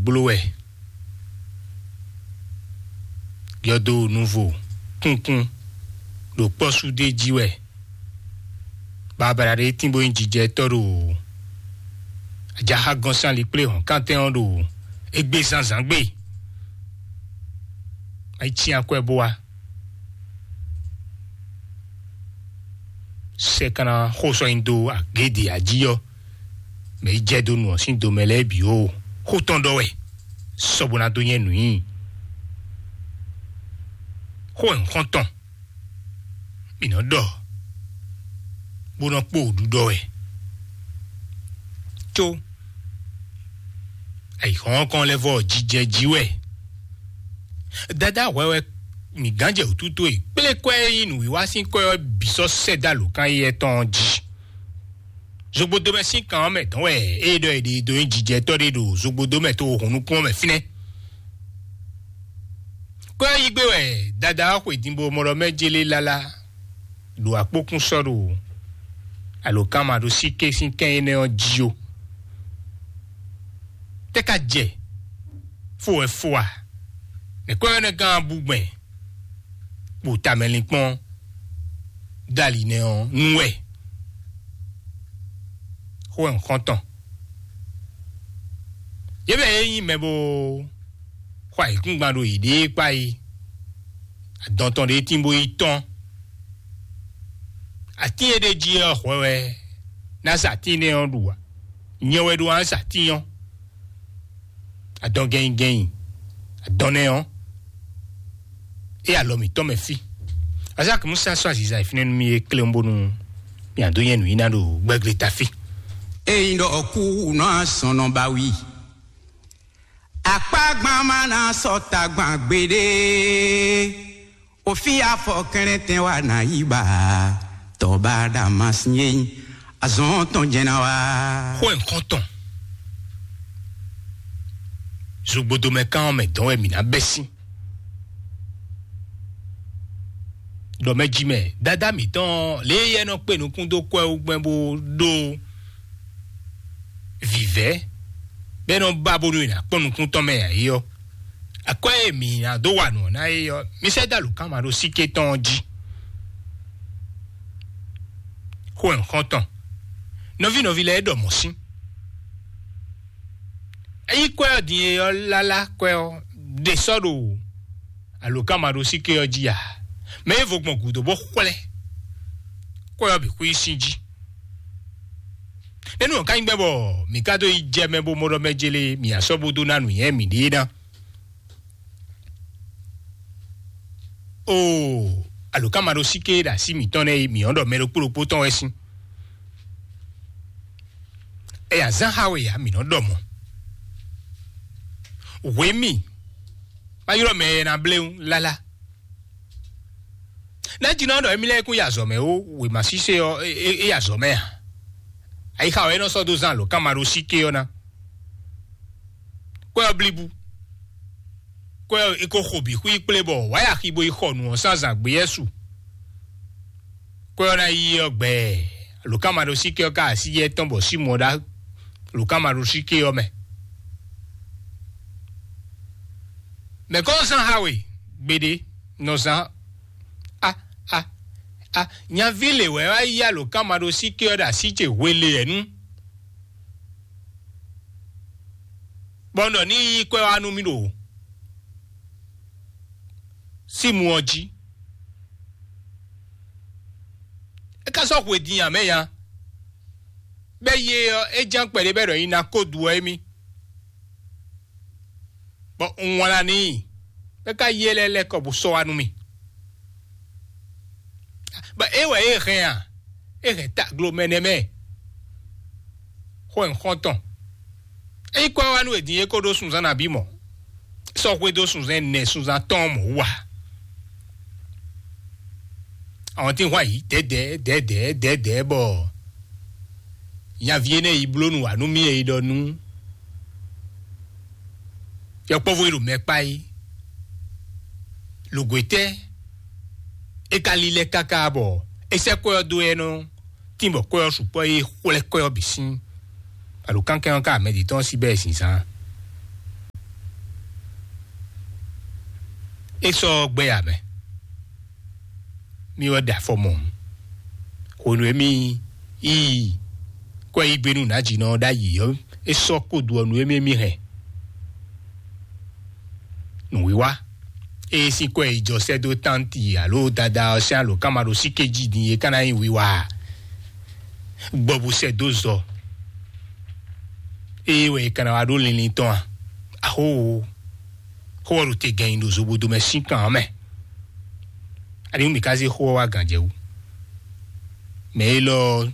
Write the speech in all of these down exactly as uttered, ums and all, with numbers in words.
gbló wɛ. Yɔdo nuvo kunkun ɖo kpɔ́sú ɖé jí wɛ. Babala ɖé tín bó nyí jijɛtɔ́ ɖo ajaxa gɔ́nsán likplé hɔn kántɛn ɔ́ ɖo égbé zǎnzǎn gbe. Ayi cyán akwɛ́ bó wá. Sɛ kana xó sɔ nyi dó agéde ají ɔ́, mɛ yi jɛ dó nu ɔ́ sín domɛ lɛ́ɛ bǐ ó. Xó tɔn ɖɔ wɛ, sɔ́ bó ná dó nyɛ nǔ nyi. Xó wɛ nǔ xɔ́n tɔn, mǐ nɔ ɖɔ, bó nɔ kpó ɖuɖɔ wɛ. Có ayǐhɔ́nkɔn lɛ́ vɔ jijɛ jí wɛ. Dadá hwɛ wɛ mǐ gán jɛ wǔtútú e kplé kwɛ́ e nyí nǔwiwa sín kwɛ́ ɔ́ bǐ sɔ́ sɛ́ dó alǒkan éyɛ́ tɔn ɔ́ jí. Zogbodomɛ sín kan ɔ́ mɛ dɔn wɛ é ɖɔ è ɖe dó nyí jijɛtɔ́ ɖé ɖo zogbodomɛ to hun nukún ɔ́ mɛ fínɛ́. Kwɛ́ ɔ́ yí gbé wɛ dada ɔ́ xwe din bo mɔ ɖɔ mɛ jélé lálá ɖo akpókún sɔ́ ɖo alǒkanmaɖósíké sín kɛn énɛ́ ɔ́ jí ó. Tɛ́ ka jɛ fó wɛ fó a? Nɛ̌ kwɛ́ ɔ́ nɛ́ gán bú gbɛn kpo tamɛlinkpɔ́n dali nɛ́ ɔ́ nú wɛ? Xó wɛ un xɔ́n tɔn. Yě mɛ e nyí mɛ bó xɔ ayǐkúngban ɖo yěɖée kpá yi, adɔn tɔn ɖé tín bó yi tɔ́n. Atín e ɖ'é jí ɔ́ hwɛ wɛ ná sa atín énɛ́ ɔ́ ɖu ǎ. Nyɛ wɛ ɖó ná sa atín ɔ́. Adɔn gɛnyi gɛnyi, adɔn nɛ́ ɔ́, é alɔ mǐtɔn mɛ fí. Azaki Musa sɔ́ aziza e fínɛ́ nú mì é kléwún bónú mì adó nyɛ nǔ yi ná ɖo gbɛ́glé ta fí. Ényí ɖɔ kú nɔ asɔn nɔ ba wi. Akpágbán má ná sɔ́ tagban gbeɖé. Òfin afɔ kɛnlɛntɛn wa ná yí ba. Tɔba Damasín. Azɔn tɔn jɛn ná wá. Xó ẹ̀ ń xɔ́n tɔn. Zogbodomɛ kan ɔ́ mɛ dɔn wɛ mǐ ná bɛ́ sín. Ɖɔ mɛ jí mɛ, dada mǐtɔn lě e yɛ nɔ kpe nukún dó kwɛ wú gbɛn bó ɖó vǐvɛ́, bɔ é nɔ ba bónú è nǎ kpɔ́n nukún tɔn mɛ ǎ é ɔ́, akwɛ́ e mǐ ná dó wa nǔ ɔ́ ná é ɔ́, mi sɛ́ dó alǒkanmaɖósíké tɔn ɔ́ jí. Xó ẹ̀ ń xɔ́n tɔn. Nɔví nɔví lɛ́ɛ ɖɔ mɔ̌ sín. Ényí kwɛ́ ɔ́ din e ɔ́ lálá kwɛ́ ɔ́ ɖe sɔ́ ɖo alǒkanmaɖósíké ɔ́ jí a, mɛ e vo gbɔn gǔdo bó xwlɛ́ kwɛ́ ɔ́ bǐ xwí sín jí. Nɛ́nú ɔ́ ka nyí gbɛ́ bɔ mǐ ka dó yi jɛ mɛ bó mɔ ɖɔ mɛ jélé mǐ asɔ́ bó dó ná nǔnywɛ́ mǐɖée ná. Oo, alǒkanmaɖósíké e ɖo así mǐtɔn lɛ́ɛ é, mǐ ɔ́ ɖɔ mɛ ɖokpó ɖokpó tɔn wɛ sín. Ɛ azán xa we ǎ, mǐ nɔ ɖɔ mɔ̌. Hwě mì, ma ylɔ́ mɛ e ná bléwún lálá. Nɛ́ jí nɔ ɖɔ émí lɛ́ɛ kún yi azɔ̌ mɛ ó, wěma sísé ɔ́, é, é, é yi azɔ̌ mɛ a? Ayixa ɔ́, é nɔ sɔ́ dó zán alǒkanmaɖósíké ɔ́ ná. Kwɛ́ ɔ́ blíbú. Kwɛ́ ɔ́, é ko xo bǐ xwí kplé bɔ wǎ yi axi bo yi xɔ nǔ ɔ́ sín azǎn gbé yɛ́ su. Kwɛ́ ɔ́ ná yi ɔ́ gbɛ, alǒkanmaɖósíké ɔ́ ka así yɛ tɔn bɔ símɔ́ ɖá alǒkanmaɖósíké ɔ́ mɛ. Mɛ̌ kɔn zán xa we gbeɖé nɔ zán? A, a, a, nyaví lě wɛ wá yí alǒkanmaɖósíké ɔ́ ɖo así ce hwelé ɛ nú, bɔ un ɖɔ ní yí kwɛ́ wá nú mì ɖo símu ɔ́ jí. É ka sɔ́ hwe din ǎ mɛ nya. Bɛ́ yé ɔ́, é ján kpɛɖé bɛ́ ɖɔ nyi ná kó du ɔ́ émí. Bɔ un wlán n'i, bɔ é ka yí e lɛ́ɛ lɛ́ kɔ bó sɔ́ wá nú mì. Bɔ é wɛ é hɛn a? É hɛn taglo mɛ nɛ́ mɛ. Xó ɛ xɔ́ntɔn. É nyí kɔ́ wá nú è din é kó ɖó sunzán nabí mɔ̌. Sɔ́ xwedó sunzán ɛnɛ sunzán tɔn mɔ̌ wú a? Àwọn tí ń hwan yìí dɛ̌dɛ̌ dɛ̌dɛ̌ dɛ̌dɛ̌ bɔ nyaví énɛ́ yi bló nǔ wá nú mì e yi ɖɔ nú yɔkpɔ́vú e ɖo mɛ kpá é. Lǒgwetɛ́ é ka lílɛ́ káká bɔ é sɛ́ kwɛ́ ɔ́ dó ɛ nɔ tín bɔ kwɛ́ ɔ́ sukpɔ́ é xwlɛ́ kwɛ́ ɔ́ bǐ sín. Alo kánkɛ́n ɔ́ ká mɛ ɖě tɔn sí bɛ́ zinzán. É sɔ́ gbɛ́ ǎ mɛ. Mì wɛ ɖo afɔ mɔ. Hwenu e mì yi kɔ yi gbe nú nǎjínɔ ɔ́ ɖ'ayǐ ɔ́, é sɔ́ kpódú ɔ́ nú émí émí hɛn. Nǔwiwa ée sín kɔ yi jɔ sɛ́ dó tánti alo dada ɔ́ sín alǒkanmaɖósíké jí din é ka ná nyí wiwa ǎ. Gbɔ bó sɛ́ dó zɔ. Ée wɛ è ka ná wá ɖó linlin tɔn a? Axóo, xó ɔ́ ɖo te gɛn nyi ɖo zobodo mɛ sín kan ɔ́ mɛ. Aniwú mǐ ka zé xó ɔ́ wá gǎn jɛ wú? Mɛ élɔ́ ɔ́,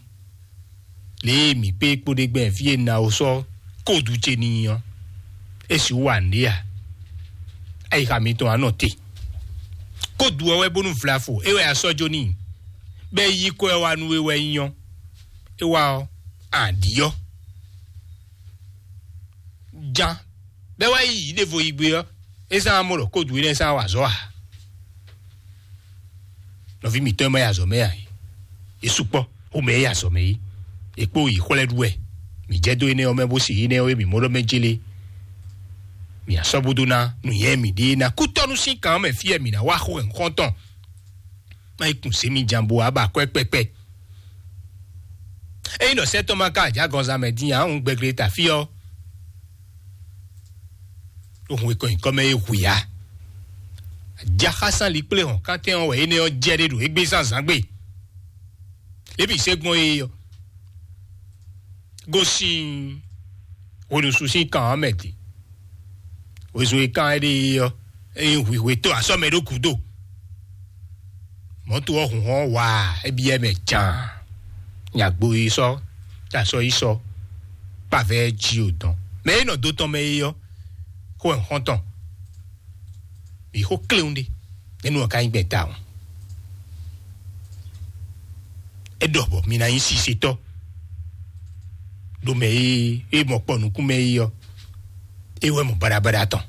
lě e mǐ kpé kpóɖégbɛ́n fí e Nawo sɔ́ kódu ce n'i ɔ́, é sixú wa nǔɖé a? Ayixa mitɔn wá nɔ te. Kódu ɔ́ wɛ bónú vlafo é wɛ a sɔ́ jó n'i, bɔ é yí kɔ ɛ wá nú we wɛ nyí ɔ́, é wá ɔ́, a ɖǐ ɔ́. Jan bɛ́ wá yi yǐ ɖěvo yi gbé ɔ́, é zán amɔ ɖɔ kódu énɛ́ zán wa azɔ̌ ǎ. Nɔví mǐtɔn e ma yi azɔ̌ mɛ ǎ é, é sukpɔ́ xomɛ e yi azɔ̌ mɛ é, è kpó yi xwlɛ́ ɖu wɛ. Mǐ jɛ dó énɛ́ ɔ́ mɛ bó se énɛ́ ɔ́ e mǐ mɔ ɖɔ mɛ jélé. Mǐ asɔ́ bó dó ná nǔnywɛ́ mǐɖée ná kútɔ́nú sín kan ɔ́ mɛ fí wɛ mǐ ná wá xó xɔ́ntɔn. Má yi kun sěmi jan bo wá ba akwɛ́ kpɛkpɛ. Ényí ɖɔ sɛ́ tɔn ma ka ajǎgɔnzán mɛ dín ǎ, un gbɛgle ta fí ɔ́, ɖo hun e kɔ nyǐkɔ mɛ é hu yá. Ajaxásán likplé hɔn kántɛn ɔ́ wɛ énɛ́ ɔ́ jɛ ɖé ɖo égbé zánzán gbe. Lěbǐ se gbɔn é ɔ́, gosín hweɖusu sín kan ɔ́ mɛ din. Wezun e kan éɖée ɔ́, é nyí hwǐhwetɔ́ asɔ́ mɛ ɖó gǔdo. Mɔ̌to ɔ́ hun hɔn waa, é byɔ́ mɛ jaan. Nyagbo yi sɔ́, ta sɔ́ yi sɔ́, kpavɛ jí o dɔn. Mɛ e nɔ dó tɔn mɛ é ɔ́, xó wɛ xɔ́ntɔn. Mǐ xó kléwún ɖé, nɛ́ nú ɔ́ ka nyí gbɛn tawun. É ɖɔ bɔ mi ná nyí sisetɔ́ ɖo mɛ e e mɔ kpɔ nukún mɛ é ɔ́, é wɛ mɔ baɖabaɖa tɔn.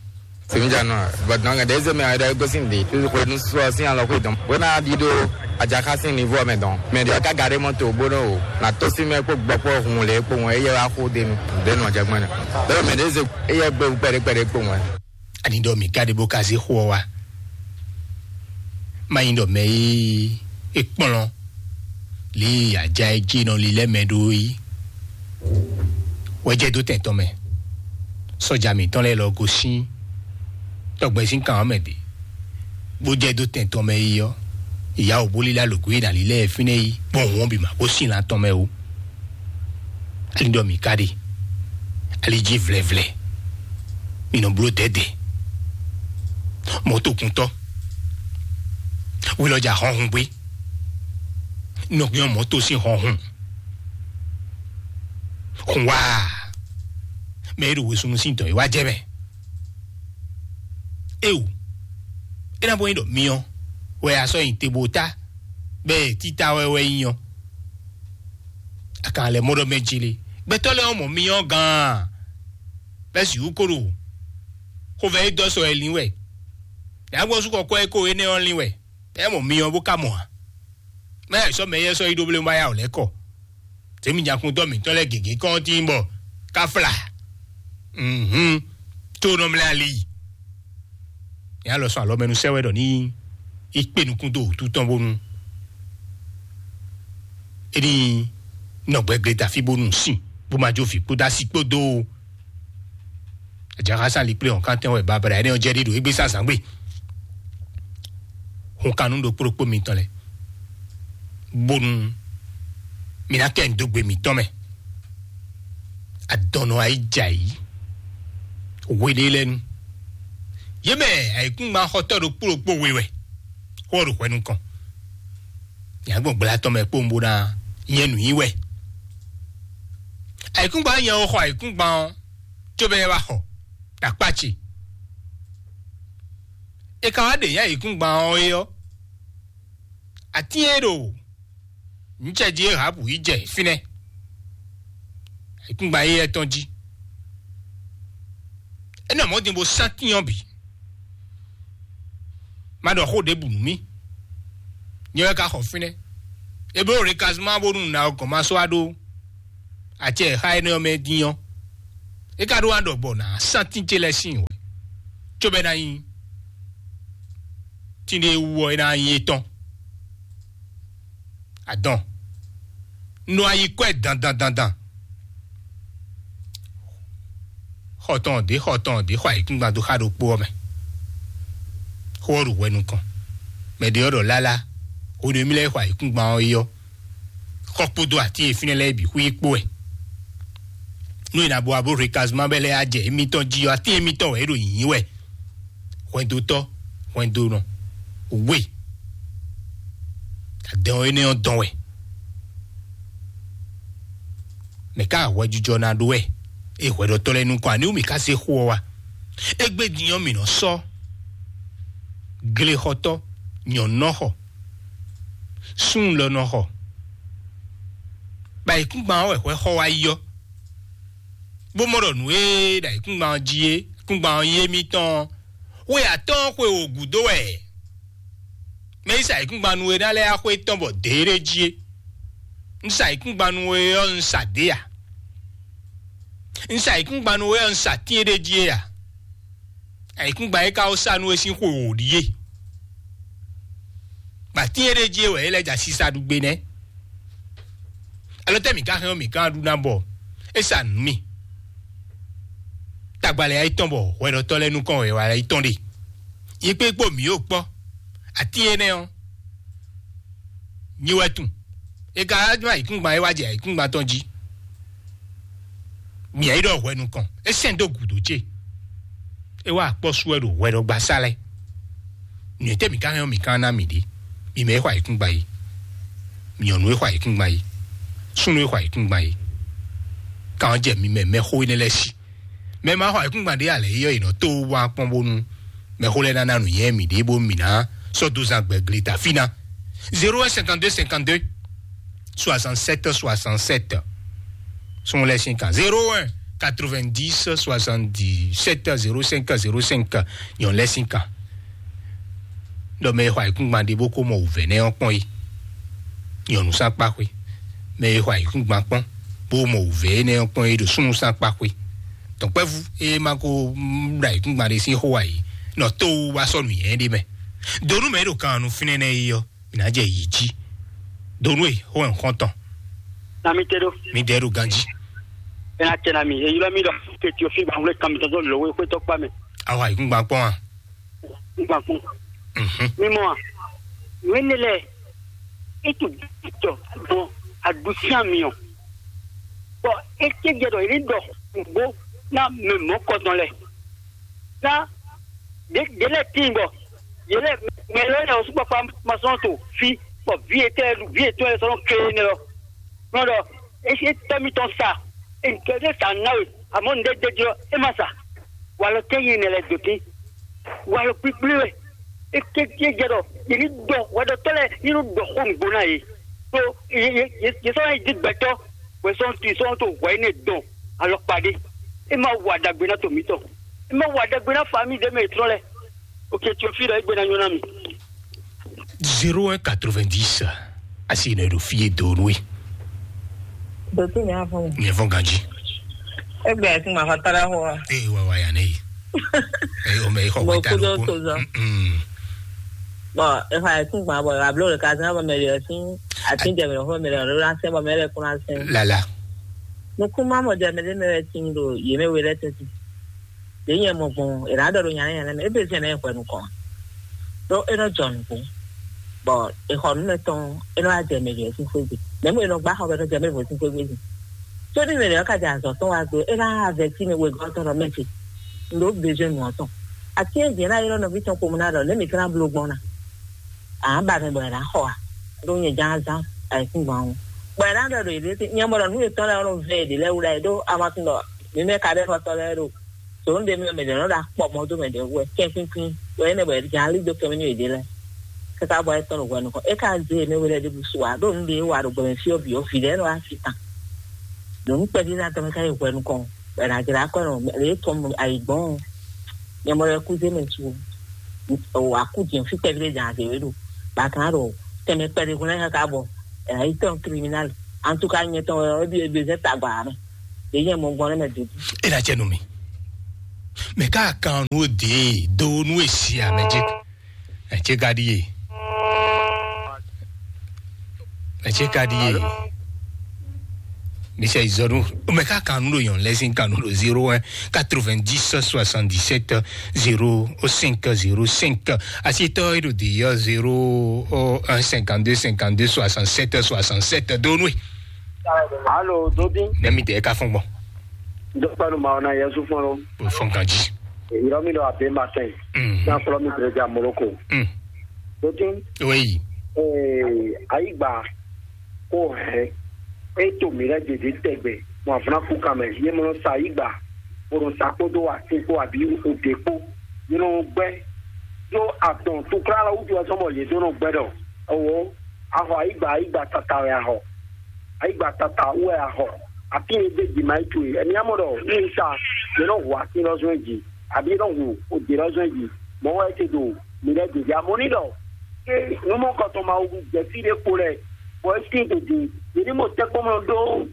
Sèmídza nɔ, but nɔ ŋɛɖe zé mɛ ayɔdɔ gosin de, tu xwe nu sɔ sin alɔ xwe dɔn. Wena di do adjaka sin nivo mɛ dɔn. Mɛ de ka gade mɔ to bono o. Na to sin mɛ kpo gbɔ kpo hun le kpo ŋɔ eye wa xo de nu. De nɔ jagbe ne. Bɛ mɛ de ze eye gbe kpɛɖe kpɛɖe kpo ŋɔ. Ani ɖɔ mǐ ka ɖe bó ka zé xó ɔ́ wá. Má nyí ɖɔ mɛ e é kplɔ́n lě e aja e jí nɔ lilɛ́ mɛ ɖó é wɛ jɛ dó tɛn tɔn mɛ. Sɔ́ja mǐtɔn lɛ́ɛ lɔ gosín tɔgbɛzín kan ɔ́ mɛ ɖě, bó jɛ dó tɛn tɔn mɛ yi ɔ́, ìyá wǒ bó lílá lǒgó e nǎ lílɛ́ ɛ fínɛ́ yi gbɔn hǔn ɔ́ bǐ ma gosín lan tɔn mɛ ó. Ali ɖɔ mǐ ka ɖe, ali jí vlɛvlɛ, mǐ nɔ bló dɛ̌dɛ̌. Mɔ̌tokuntɔ́, hwelɔ́jà hɔnhun gbé, nɔgbɛ́n mɔ̌to sín hɔnhun. Hun wá, mɛ e ɖo wěsúnú sín dɔ̌ e wá jɛ mɛ. Éwu, é ná bɔ nyí ɖɔ myɔ wɛ a sɔ́ nyi te bó tá, bɛ́ títá wɛ wɛ nyí ɔ́. A kan lɛ mɔ ɖɔ mɛ jele. Gbɛtɔ́ lɛ́ɛ ɔ́ mɔ myɔ gán, bɛ́ sixú ko ɖo xovɛ́ e dɔ́ sɔ wɛ lín wɛ. Yǎgbɔ́ sú kɔkɔ́ e ko énɛ́ ɔ́ lín wɛ, bɛ́ mɔ myɔ bó ka mɔ ǎ. Mɛ ɛ sɔ́ mɛ yɛ sɔ́ yi ɖó blé ma ya wǒ lɛ́ kɔ. Tèmi nyakuntɔ́ mǐtɔn lɛ́ɛ gěgé kɔn tín bɔ káfla. Mhm. Tó nɔ mlɛ ali. Nya lɔ sɔn alɔ mɛ nu sɛ wɛ ɖɔ ní í kpe nukún dó wútu tɔn bónú é ní nɔ gbɛgbɛ da fí bónú sin bó ma jó vǐ kpódó asi kpódó. Ajaxa sán likplé hɔn kántɛn wɛ babla ɛnɛ ɔ́ jɛ ɖi ɖo égbé sá zǎn gbe. Hun kan nú ɖokpó ɖokpó mitɔn lɛ bónú mi ná kɛ dó gbe mǐtɔn mɛ. Adɔnɔ ayíjayi hweɖé lɛ́ɛ nu. Yě mɛ ayǐkúngban xɔtɔ́ ɖokpó ɖokpó we wɛ xó ɔ́ ɖo hwɛ nukɔn. Nyɛ gbɔn gbla tɔn mɛ kpowun bó ná nyɛ nǔ nyi wɛ. Ayǐkúngban nyɛ xɔ ayǐkúngban ɔ́, cóbɔ é wá xɔ ɖo akpá ce. È ka wá ɖe nyɛ ayǐkúngban ɔ́ é ɔ́, atín e ɖo nǔcɛjí e Rahabu yi jɛ fínɛ́, ayǐkúngban éyɛ́ tɔn jí. É nɔ mɔ̌ din bó sán tín ɔ́ bǐ. Má ɖɔ xó ɖěbǔ nú mì. Nyɛ wɛ ka xɔ fínɛ́. Eblo ɖe kazuma bónú nǎ ɔ́ gɔ̌n ma sɔ́ wá ɖó acɛ e xá énɛ́ ɔ́ mɛ dín ɔ́, é ka ɖó wá ɖɔ gbɔ nǎ sán tín ce lɛ́ɛ sín wɛ, cóbɔ é ná nyí tínɖé wú ɔ́, é ná nyí étɔn. Adɔn, un nɔ ayi kɔ́ ɛ dandan dandan. Xɔ tɔn ɖě xɔ tɔn ɖě xɔ ayǐkúngban dó xá ɖokpó ɔ́ mɛ. Xó ɔ́ ɖo hwɛ nukɔn. Mɛ ɖě ɔ́ ɖɔ lálá, hwenu e mì lɛ́ xɔ ayǐkúngban ɔ́ é ɔ́, xɔ kpódó atín e fínɛ́ lɛ́ɛ bǐ xwí kpó wɛ. Nú è nǎ bo wá bó hwe kazuma bɛ́ lɛ́ɛ á jɛ émítɔn jí ɔ́, atín émítɔn wɛ é ɖo nyǐnyí wɛ. Hwɛndotɔ́, hwɛndonɔ, we, adɛn ɔ́ énɛ́ ɔ́ dɔn wɛ. Mɛ ká hwɛjijɔ ná ɖó wɛ, é hwɛɖɔtɔ́ lɛ́ɛ nukɔn, aniwú mì ká zé xó ɔ́ wá? Égbé din ɔ́, mǐ nɔ sɔ́ glexɔtɔ́, nyɔ̌nɔxɔ, súnlɔnɔxɔ, bɔ ayǐkúngban ɔ́ wɛ hwɛ xɔ wá yi ɔ́, bó mɔ ɖɔ nǔ e ɖo ayǐkúngban ɔ́ jí é, ayǐkúngban ɔ́ nyí émítɔn ɔ́, xwe atɔ́ɔ́n xwe wǒ gúdo wɛ. Mɛ e sa ayǐkúngban nú we ná lɛ́ɛ axwé tɔn bɔ dě ɖé jí é. Un sa ayǐkúngban nú we ɔ́, un sa dě ǎ. Un sa ayǐkúngban nú we ɔ́, un sa tín é ɖé jí é ǎ. Ayǐkúngban e ka wó sa nú we sín xwe wǒ ɖíe. Bɔ atín e ɖ'é jí é wɛ é lɛ́ jɛ asisa ɖu gbe nɛ́. Alɔ tɛ́ mǐ ka hɛn ɔ́, mǐ ka ɖu ná bɔ é sa nǔ mì. Tagbalɛ ayítɔn bɔ hwɛɖɔtɔ́ lɛ́ɛ nukɔn wɛ wala yi tɔn ɖe. Yi kpé kpó mǐ yóò kpɔ́. Atín énɛ́ ɔ́, nyi wɛ tun. É ka wá ayǐkúngban é wá jɛ ayǐkúngban tɔn jí. Mǐ yí ɖɔ hwɛ nukɔn, é sɛn dó gǔdo ce. É wá akpɔ́ sú wɛ ɖo hwɛɖɔgbasá lɛ́ɛ. Nǔ e tɛ́ mǐ ka hɛn ɔ́, mǐ ka ná mǐ ɖě. Mi mɛ e xɔ ayǐkúngban yi, mi nyɔ̌nu e xɔ ayǐkúngban yi, súnnu e xɔ ayǐkúngban yi, kan ɔ́ jɛ mi mɛ mɛxó énɛ́ lɛ́ɛ sí. Mɛ ma xɔ ayǐkúngban ɖé alɛ yi ɔ́, è nɔ tó wá kpɔ́n bónú mɛxó lɛ́ɛ ná ná nǔnywɛ́ mǐ ɖě bónú mǐ ná sɔ́ dó zán gbɛ̌ gleta fí ná. Zéro un cinquante-deux cinquante-deux soixante-sept soixante-sept. Sɔ́n lɛ́ sín kan: zéro un quatre-vingt-dix soixante-dix-sept zéro cinq zéro cinq. Nyɔ̌nu lɛ́ sín kan. Ɖɔ mɛ e xɔ ayǐkúngban ɖé bó ko mɔ wǔvɛ́ nɛ́ ɔ́ kpɔ́n é. Nyɔ̌nu sín akpá xwé. Mɛ e xɔ ayǐkúngban kpɔ́n bó mɔ wǔvɛ́ énɛ́ ɔ́ kpɔ́n é ɖo súnnu sín akpá xwé. Tɔ̌nkpɛ́vú e ma ko ɖo ayǐkúngban ɖé sín xó ǎ é, nɔ tó wú wá sɔ́ nǔnywɛ́ ɖé mɛ. Donu mɛ e ɖo kan ɔ́ nú fínɛ́ nɛ́ é ɔ́, mǐ ná jɛ yǐ jí. Donu e xó wɛ un xɔ́n tɔn. Na mi te ɖo. Mi ɖɛ ɖo ganjí. Ena tɛ na mi, e ylɔ mi ɖɔ ke ti o fi gban wle kan mi tɔn dɔ lɔ we xwe tɔ kpa mɛ. Awa yi kún gban kpɔn a? Gban kpɔn. Mhm. Mi mɔ a? Wene lɛ, e tu jɔ gbɔn adusian mi ɔ. Bɔ e ke jɛ dɔ e ɖɔ nugbo na mɛ mɔ kɔtɔn lɛ. Na ɖe ɖe lɛ tin bɔ yɛ lɛ mɛ lɛ lɛ o sukpɔ kpa ma sɔn to fi bɔ vi etɛ vi etɔ lɛ sɔn ke ne lɔ. Nɔ ɖɔ esi tɔ mi tɔn sa, e nke ɖe sa na we, amɔ nde de jɔ e ma sa. Walɔ tɛ yi ne lɛ do tin. Walɔ kpikpli we. E ke ke jɛ dɔ yɛ ni dɔ wɛ dɔ tɔ lɛ ni nu dɔ xo nugbo na ye. To ye ye ye sɔn yi di gbɛtɔ wɛ sɔn ti sɔn to wɛ ne dɔn alɔkpa ɖe. E ma wa dagbe na to mitɔn. E ma wa dagbe na fa mi de mɛ trɔ lɛ. Ok, Théophile, egbe na nyɔ na mi. Zéro un quatre-vingt-dix. Asi ne ɖo fie do nue. Dɔtí mi afɔ mi. Nyɛ fɔ ganji. Egbe ati ma fa tara hɔ. Ee wa wa ya ne yi. Ee o mɛ xɔ Mo wɛ ta kudo ló to zɔ. Mm. Bɔn efa ati gba bɔ ablo le ka zan bɔ mɛ le ɔsi. Ati jɛ mɛ fɔ mɛ le ɔsi la sɛ bɔ mɛ le kuna sɛ. Lala. Nukuma mɔ jɛ mɛ le mɛ le ti do ye mɛ we le tɛti. Ɖě nyɛ mɔ gbɔn è nǎ ɖɔ ɖo nyanya nyanya mɛ, é bɛ́ zɛn ná yi hwɛ nukɔn. Ɖó é nɔ jɔ nǔgbó, bɔ è xɔ nǔ mɛ tɔn, é nɔ wá jɛ mɛ ɖě sín xwé gbe. Mɛ̌ mɔ è nɔ gbá xɔ bɔ é nɔ jɛ mɛ ɖě sín xwé gbe din? Có ní mɛ ɖě ɔ́ ka jɛ azɔ̌ tɔn wá gbe, é ná avɛtí mɛ wegɔ́ tɔn ɖɔ mɛ ce, un ɖǒ bezwɛ́n nǔ ɔ́ tɔn. Atín e jǐ ná ylɔ́ nɔví tɔn kpomɛ ná ɖɔ nɛ̌ mǐ ka ná bló gbɔn ná? Ǎ ba mɛ bɔ è nǎ xɔ a? Ɖó nyɛ ján azán ayǐkúngban ɔ́. Bɔ è nǎ ɖɔ ɖo yěɖée nyɛ mɔ ɖɔ nǔ yětɔn lɛ́ɛ ɔ́ nɔ vɛ yě ɖě lɛ́ɛ wú ɖ'ayǐ ɖó amatun ɖɔ mǐ mɛ ka ɖo xɔtɔ́ lɛ́ɛ ɖo. Sǒnúɖe mɛ mɛ ɖě nɔ ɖo akpɔ mɔ dó mɛ ɖě wú wɛ kɛ́nkúnkún wɛ é nɛ bɔ è jǎn lí dó kɛmɛ nú yěɖée lɛ́ɛ. Káká bɔ é tɔ́n ɖo hwɛ nukɔn. É ka zé yě mɛ we lɛ́ɛ ɖěbǔ su ǎ, ɖó nǔɖé é wa ɖo gbɔmɛ fí ɔ́ bǐ ɔ́, vǐ lɛ́ɛ nɔ wá fi tán. Ɖo nǔ kpɛví ná tɔn mɛ ká yi hwɛ nukɔn, bɔ è nǎ jlá kɔ nɔ lě tɔn ayǐ gbɔn. Nyɛ mɔ lɛ́ɛ kú zé mɛ su o, akú jǐ fí kpɛví ɖé jǎn zě wé ɖo. Bɔ a kan ɖo tɛnmɛ kpɛɖé hun lɛ́ɛ káká bɔ è nǎ yi tɔ́n criminal. En tout cas, nyɛ tɔn wɛ ɔ́, é ɖi ebezɛ tagba mɛ. Ɖě nyɛ mɔ gbɔn nɛ́ mɛ dǒdú. É ná jɛ nú mi. Mɛ ká kan nú dě do nú èsì àmɛ jẹ. Ɛ cé ka ɖíe? Ɛ cé ka ɖíe? Mi sɛ izɔnu. Mɛ ka kanu ɖo yɔn lɛ sin kanu ɖo zéro un quatre-vingt-dix soixante-dix-sept zéro cinq zéro cinq. Asitɔ e ɖo de yɔ zéro un cinquante-deux cinquante-deux soixante-sept soixante-sept. Donwe. Alo, Dodi. Nɛmi de ka fɔn gbɔn. Dɔkpɛnu ma ɔna Yesu fɔn lo. O fɔn kan ji. Yɔrɔ mi ɖo abe ma tɛn. Mhm. San fɔlɔ mi bere ja Moroko. Mm. Dodi. Oui. Ee, ayigba ko hɛn. E to mi lɛ dede tɛgbɛ. Mo afuna ku kan mɛ. Ye mo sa ayigba. Mo sa kpo do wa ti kpo abi o de kpo. Ye no gbɛ. Yo atɔn tukla la wutu wa sɔmɔ ye do no gbɛ dɔ. Owo. Ahɔ ayigba, ayigba tata wɛ ahɔ. Ayigba tata wɛ ahɔ. Afi e de ji ma yi tu e. Emi amɔ dɔ ni sa. Ye no hu afi lɔ zɔn ji. Abi ye no hu o de lɔ zɔn ji. Mo wɛ te do. Mi lɛ dede amɔ ni dɔ. Ke numɔ kɔtɔn ma wu jɛ fi ɖe kpo lɛ. Bɔ e sin to di. Ye ni mo tɛ kpɔmɔ do.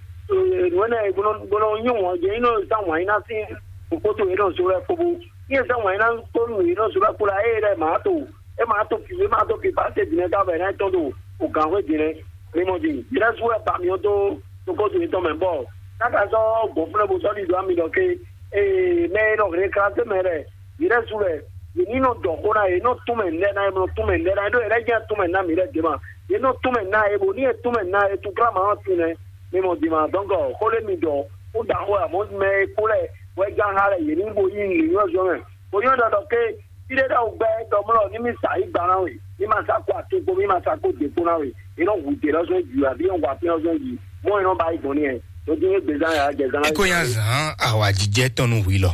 Nua nɛ gbɔnɔ gbɔnɔ nyi wɔn jɛ ino zan wɔn ina sin. Kpoto ye no so lɛ kpobo. Ye zan wɔn ina to nu ye no so lɛ kpo la e lɛ ma to. E ma to pi e ma to pi pa se di ne ta bɛ ne tɔn do. O gan hwe di ne. Mi mo di. Jira su wɛ ba mi to. To ko to ye tɔn mɛ bɔ. Kaka sɔ gbɔnflɛ bo sɔ di do ami dɔ ke. Ee, mɛ e nɔ hre kla se mɛ lɛ. Yɛrɛ su lɛ, yě ní nɔ dɔ xó ná yě, nɔ tún mɛ nɛ ná yě, nɔ tún mɛ nɛ ná yě, ɖó yɛrɛ jẹ́ tún mɛ ná mi lɛ dě ma. Yě nɔ tún mɛ ná yě, bó ní yě tún mɛ ná yě, tún kla ma ɔ́ tún nɛ. Mi mɔ dě ma, donc xó lé mi dɔ, xó da xó amo mɛ e kó lɛ, wɛ gán xá lɛ yě ní bo yí nǔ nyɔ́ zɔn mɛ. Bó nyɔ́ ɖɔ ɖɔ ké, fí ɖé ɖɔ gbɛ dɔ mlɔ ní mi sa yí gba ná we, ní ma sa kó atín kpó, ní ma sa kó dě kpó ná we. Yě nɔ hu dě lɔ zɔn ju, àbí yě nɔ hu atín lɔ zɔn ju, mɔ yě nɔ ba yi gbɔn ní yɛ. Tó dín é gbezán yà á jɛ zán. Eko ya zan awajijɛ tɔnu hui lɔ.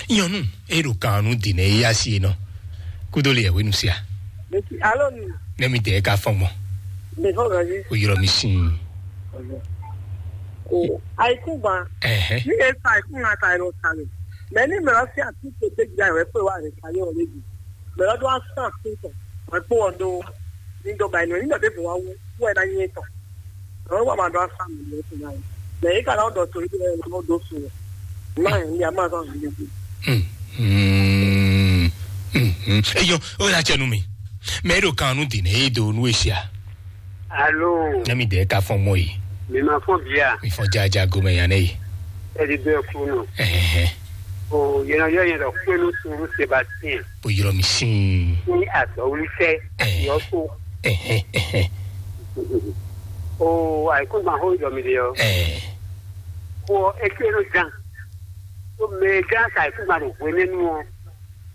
Nyɔnu e ɖo kan nú dǐn e yá si é nɔ. Kúdó le yɛhwenu sia. Alo mi. Ne mi dɛ ka fɔn gbɔn. Mi fɔ gaji. O yɔrɔ mi sin. O ayikun gban. Ɛhɛn. Ni e sa ayikun na ta e nɔ ta mi. Mɛ ni mɛ lɔ si ati to de gba wɛ pe wa re ka yɔ le bi. Mɛ lɔ do asan atin tɔ. Wɛ kpo wɔ do. Ni do ba inu ni dɔ de bo wa wu. Wɛ na nyi tɔ. Ɔ́ wá máa dɔn asá mi lé fún náà. Mɛ yìí kàdá ọ̀dọ̀ tó yìí lẹ́yìn ló dó fún un. Náà ní a máa sọ ìdílé fún. Eyɔ, o la cɛ nu mi. Mɛ ɖo kan nu dine e do nu esia. Alo. Ne mi de ka fɔn mɔ yi. Mi ma fɔn bia. Mi fɔn jaja gomɛ yan ne yi. Ɛdi bɛ kunu. Ɛhɛn. O yɛn yɔ yɛn dɔ kpenu suru Sébastien. O yɔrɔ mi sin. Ní àtọ̀ wíṣẹ́. Ɛhɛn. Yọ so. Ɛhɛn, ɛhɛn. O àìkúngban xó yɔ mi de ɔ. Ɛɛ. Kó ɔ é ké ló gán. Tó mɛ gán sa àìkúngban ɖo hwenɛ́nu ɔ,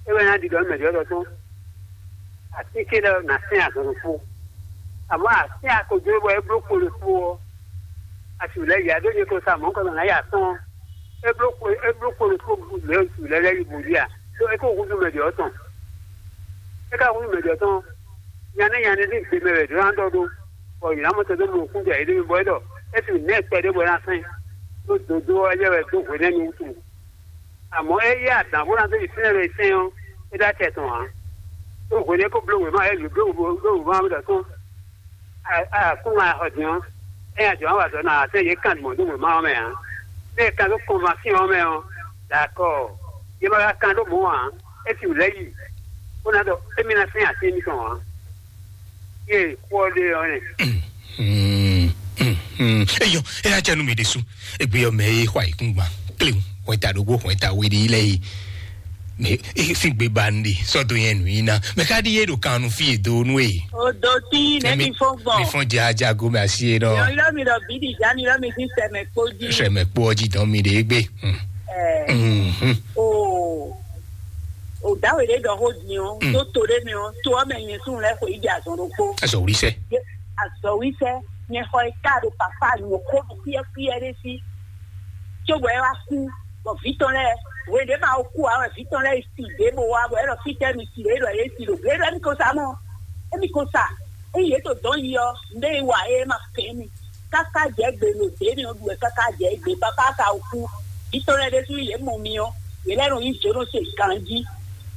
é wɛ ná ɖiɖɔ mɛ ɖiɔ́ ɖɔ tɔn. Àti ké lɛ ná sɛn azɔn ɖokpó. Àmọ́ àti akojú bɔ é bló kpo ɖokpó ɔ, a sì lɛ yà ɖó nyɛ ko sa mɔ̌ kɔ nɔ ná yà tɔn. É bló kpo é bló kpo ɖokpó lɛ lɛ yi bǔ ɖi a. Tó é kó húzú mɛ ɖiɔ́ tɔn. É ka húzú mɛ ɖiɔ́ tɔn. Nyanɛ nyanɛ ní gbe mɛ wɛ ɖó ná ɖɔ ɖó. Bɔ yě ná mɔ tɔn dó mɔ kún jɛ yě ɖé mi bɔ é ɖɔ é fi nɛ́ kpɛɖé bɔ é ná sɛn. Ɖó dodó ɔ́ yɛ wɛ dó hwenɛ́nu wútu. Àmọ́ é yí adǎn bó ná dó yi fínɛ́ ɖo sɛn ɔ́, é ɖó acɛ tɔn ǎ. Ɖó hwenɛ́ kó bló wěma é lě bló wěma ɖɔ tɔn. Akún ŋa xɔ din ɔ́, é nya jɔ wá wà dɔ̌ ná àtɛ́ yě kan mɔ̌ dó wěma ɔ́ mɛ ǎ. Bẹ́ẹ̀ kan dó kɔnvasíɔn ɔ́ mɛ ɔ́, d'accord. Yě ma ka kan ɖó mɔ̌ ǎ, é sì lɛ́ yi, bó ná ɖɔ émí ná fɛ́n àtɛ́ émítɔn ǎ. Yé kú ɔ́ ɖe ɔ́ nɛ. Eyɔ, é yá jɛ nú mi ɖésú. Egbe ɔ́ mɛ é xɔ ayǐkúngban. Kléwu, hwɛta ɖokpó, hwɛta we ɖe lɛ yi. Mɛ é fi gbe ba nu ɖe sɔ́ dó nyɛ nǔ nyi ná. Mɛ ka ɖi yé ɖo kan nu fí e do nú e. O do tí nɛ mi fɔn gbɔn. Mi fɔn jaja go mɛ asi e nɔ. Yɔ yɔ mi ɖɔ bí di ja mi ɖɔ mi ti sɛ mɛ kpó jí. Sɛ mɛ kpó ɔjí dɔn mi ɖe gbe. Ɛɛ. O. O dawe ɖe ɖɔ xó din ɔ, tó to ɖe mi ɔ, tó ɔmɛ nyɛ sún lɛ xɔ yi di azɔn ɖokpó. Azɔ wuli sɛ. Azɔ wuli sɛ, nyɛ xɔ yi ka ɖo papa nyɔ xó ɖo kúyɛkúyɛ ɖé sí. Tso bɔ ɛ wá kú, bɔ vǐ tɔn lɛ́ɛ, hwe ɖě ma wo kú ǎ wɛ vǐ tɔn lɛ́ɛ yi si ɖě bó wá, bɔ é ɖɔ fítɛ́ mi si ɖě ɖɔ yě si ɖo blé ɖɔ émi ko sa mɔ, émi ko sa, ényí yě to dɔn yi ɔ́, nɖé yi wa é ma kɛn mi, káká jɛ gbe lo dě mi ɔ́ ɖu wɛ káká jɛ gbe papa ka wo kú, vǐ tɔn lɛ́ɛ ɖésú yě mɔ mi ɔ́, yě lɛ́ nɔ yí jǒnɔ se ganjí.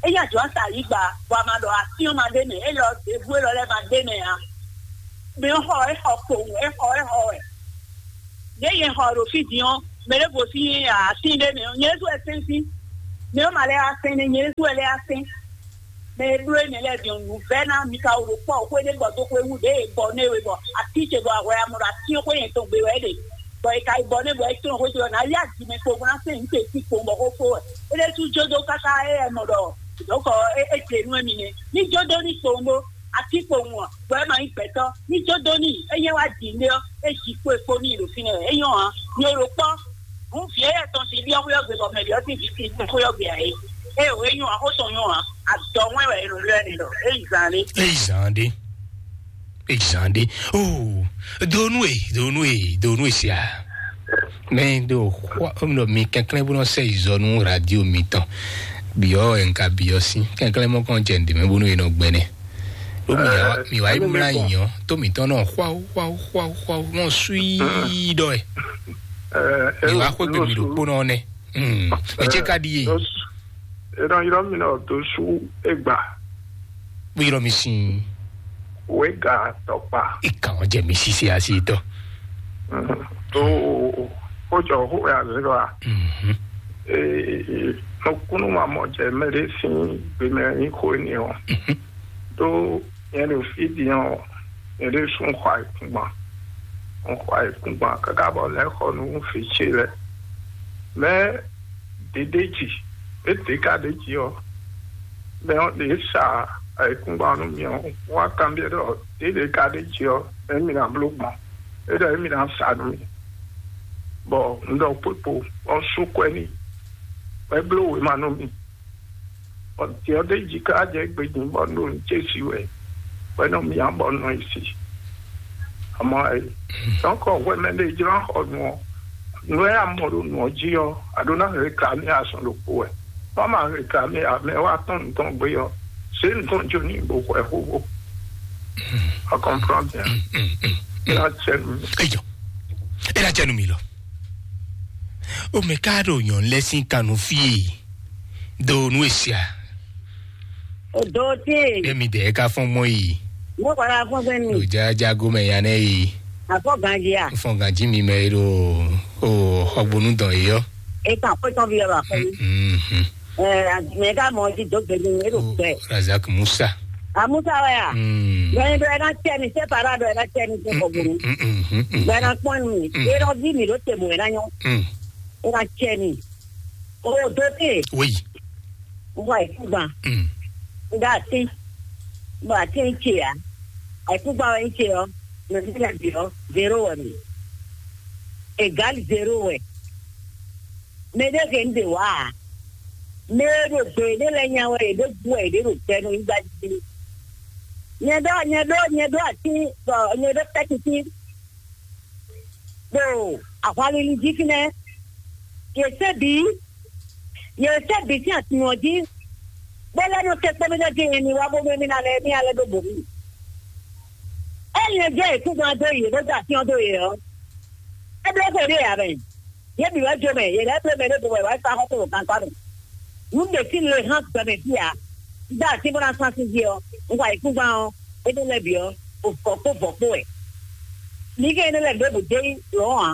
É yí ajɔ̌ sa yí gba, bɔ a ma ɖɔ asyɔ́n ma ɖ'é mɛ, é lɔ ɖěbú élɔ́ lɛ́ɛ ma ɖ'é mɛ ǎ. Mi xɔ é xɔ kpowun, é xɔ é xɔ wɛ. Ɖě nyɛ xɔ ɖo fí din ɔ́, mɛ ɖěvo sín atín ɖé mɛ ɔ́, nyɛ ɖésú wɛ sɛ́n sín. Mɛ ɔ́ ma lɛ́ wá sɛ́n nɛ́, nyɛ ɖésú wɛ lɛ́ wá sɛ́n. Mɛ e bló énɛ́ lɛ́ɛ din ɔ́, nǔvɛ́ná mi ka wǒ ɖo kpɔ́ xwé ɖé bɔ dó xwé wú ɖě e bɔ nɛ́ we bɔ atín ce bɔ ahwɛ amɔ ɖo atín xwé yɛn tɔn gbe wɛ é ɖe. Bɔ è ka yi bɔ nɛ́ bɔ é tlɔ́n xwé ce ɔ́, nǎ yá jǐ mɛ kpowun bó ná sɛn nǔ ce sín kpowun bɔ xó fó wɛ. É ɖésú jó dó káká é wɛ mɔ ɖɔ dɔ̌kɔ é é jlě nú émí nɛ́. Ní jó dó ní kpowun ɖó atín kpowun ɔ́, bɔ é ma nyí gbɛ̌tɔ́. Ní jó dó ní é nyɛ wá jǐ nɖé ɔ́, é jǐ kpo e kpo n'i ɖo fínɛ́ wɛ. É nyɔ́ ǎ. Mi e ɖo kpɔ́, hǔn vǐ éyɛ́ tɔn sín byɔ́ xwé ɔ́ gbe bɔ mɛ byɔ́ sín vǐ sín xwé ɔ́ gbe ǎ é. É o é nyɔ́ ǎ, xó tɔn nyɔ́ ǎ. Adɔ wɛn wɛ è nɔ lɛ́ n'i ɖɔ é yi zan ɖé. Eyi zan ɖé. Eyi zan ɖé. Oh, donu e donu e donu e sia. Mɛ do xɔ mi kɛnklɛn bó nɔ sɛ izɔ nú radio mitɔn. Biɔ ɛnka biɔ sí kɛnklɛn mɔ kɔn jɛ ndèmɛ bónú yìí nɔ gbɛnɛ. Ló mi wá mi wá yi mlá yìnyɔn tó mi tɔn nɔ xwáwó xwáwó xwáwó xwáwó mɔ sui dɔ ɛ. Mi wá xwé gbèmí ɖo kpónɔ nɛ. Mɛ ce ka ɖi yé. Ena yɔrɔ mi nɔ tó sú egba. Bó yɔrɔ mi sin. Wéga tɔkpa. Ìkà wọn jẹ mi sise asi tɔ. Tó kójọ xó ya zero a. Ee, nukúnnú ma mɔ jɛ mɛ ɖé sín gbemɛ nyí xó énɛ́ ɔ́. Tó nyɛ ɖo fí din ɔ́, nyɛ ɖésú un xɔ ayǐkúngban. Un xɔ ayǐkúngban káká bɔ lɛ́ xɔ nú fǐ ce lɛ́ɛ. Mɛ ɖě ɖ'é jí, é ɖě ka ɖ'é jí ɔ́, mɛ ɔ́ ɖě sa ayǐkúngban nú mì ɔ́, wá kanbyɔ́ ɖɔ ɖě ɖě ka ɖ'é jí ɔ́, émí ná bló gbɔn, é ɖɔ émí ná sa nú mì. Bɔ un ɖɔ kpókpo, bɔ un sú kwɛ́ n'i, bɔ é bló wěma nú mì. Bɔ tě ɔ́ ɖ'é jí ká jɛ gbejin bɔ un ɖo nǔ ce sí wɛ, bɔ é nɔ myá bɔ un nɔ yi si. Àmọ́ ɛ, tɔ́nkɔ hwɛ mɛ ɖé jló xɔ nǔ ɔ́, nǔ e a mɔ ɖo nǔ ɔ́ jí ɔ́, a ɖó ná réclamer azɔn ɖokpó wɛ. Má ma réclamer ǎ, mɛ wá tɔ́n nǔ tɔn gbé ɔ́, zě nǔ tɔn jó n'i bó hwɛ xóxó. A comprend bien? É ná cɛ nú mi. Eyɔ, é ná cɛ nú mi lɔ. O mɛ ká ɖo nyɔ̌nu lɛ́ɛ sín kannú fí e do nú e sia. O do tíe. Bẹ́ẹ̀ mi dẹ̀ ká fɔ́n gbɔn yìí. Mo kɔrɔ afɔn gbɛ mi. Lò jájágó mɛ ya nɛ yìí. Afɔ ganji a. Fɔn ganji mi mɛ ɖo o xɔgbónú dɔn yìí yɔ. E kan kó tɔn bi yɔrɔ afɔ mi. Mhm. Ɛ mɛ ká mɔ jí dó gbɛdú mi ɖo gbɛ. Razak Musa. A Musa wɛ a. Mm. Bɛn dɔ ɛ na tɛ mi sɛ para dɔ ɛ na tɛ mi sɛ kɔgbónú. Mm, mm, mm, mm. Bɛ na kpɔn mi. Mm. E dɔ vi mi ɖo te mo ɛ na nyɔ. Mm. E na tɛ mi. O do te. Oui. N xɔ ayǐkúngban. Mm. N ɖo atín. N ɖo atín ce ǎ. Ayǐkúngban wɛ nyí ce ɔ́, mɛ mi lɛ́ɛ bǐ ɔ́, zéro wɛ mi. Égal zéro wɛ. Mɛ ɖé hɛn ɖe wá ǎ. Mɛ e ɖo gbe ɖé lɛ́ɛ nya wɛ, yě ɖo bú wɛ, yě ɖo ɖo gbɛ nú yígbá jí. Nyɛ ɖɔ, nyɛ ɖɔ, nyɛ ɖɔ atín, bɔ nyɛ ɖɔ tɛ́kítín. Ɖo ahwanlili jí fínɛ́. Yě sɛ́ bǐ, yě sɛ́ bǐ sín atin ɔ́ jí, bó lɛ́ nɔ te kpɔ́ mì ɖɔ jí mi wá bó mɛ mì ná lɛ́ mì alɛ ɖó bǒ mì. Ényí è jɛ yěkúngban dó yě bó da atin ɔ́ dó yě ɔ́, é bló xwe ɖé ǎ mɛ. Yě bǐ wɛ jó mɛ, yě lɛ́ bló mɛ ɖé bó wɛ wá sa xɔ́ kpo ɖo gankpá mɛ. Nǔ ɖě sín le hán gbɛmɛ fí ǎ. Un dó así bó ná sán sín jí ɔ́, un xɔ ayǐkúngban ɔ́, énɛ́ lɛ́ɛ bǐ ɔ́, vɔ̌ kpó vɔ̌ kpó wɛ. Mi kɛ énɛ́ lɛ́ɛ ɖěbǔ dó yi lɔ̌n ǎ.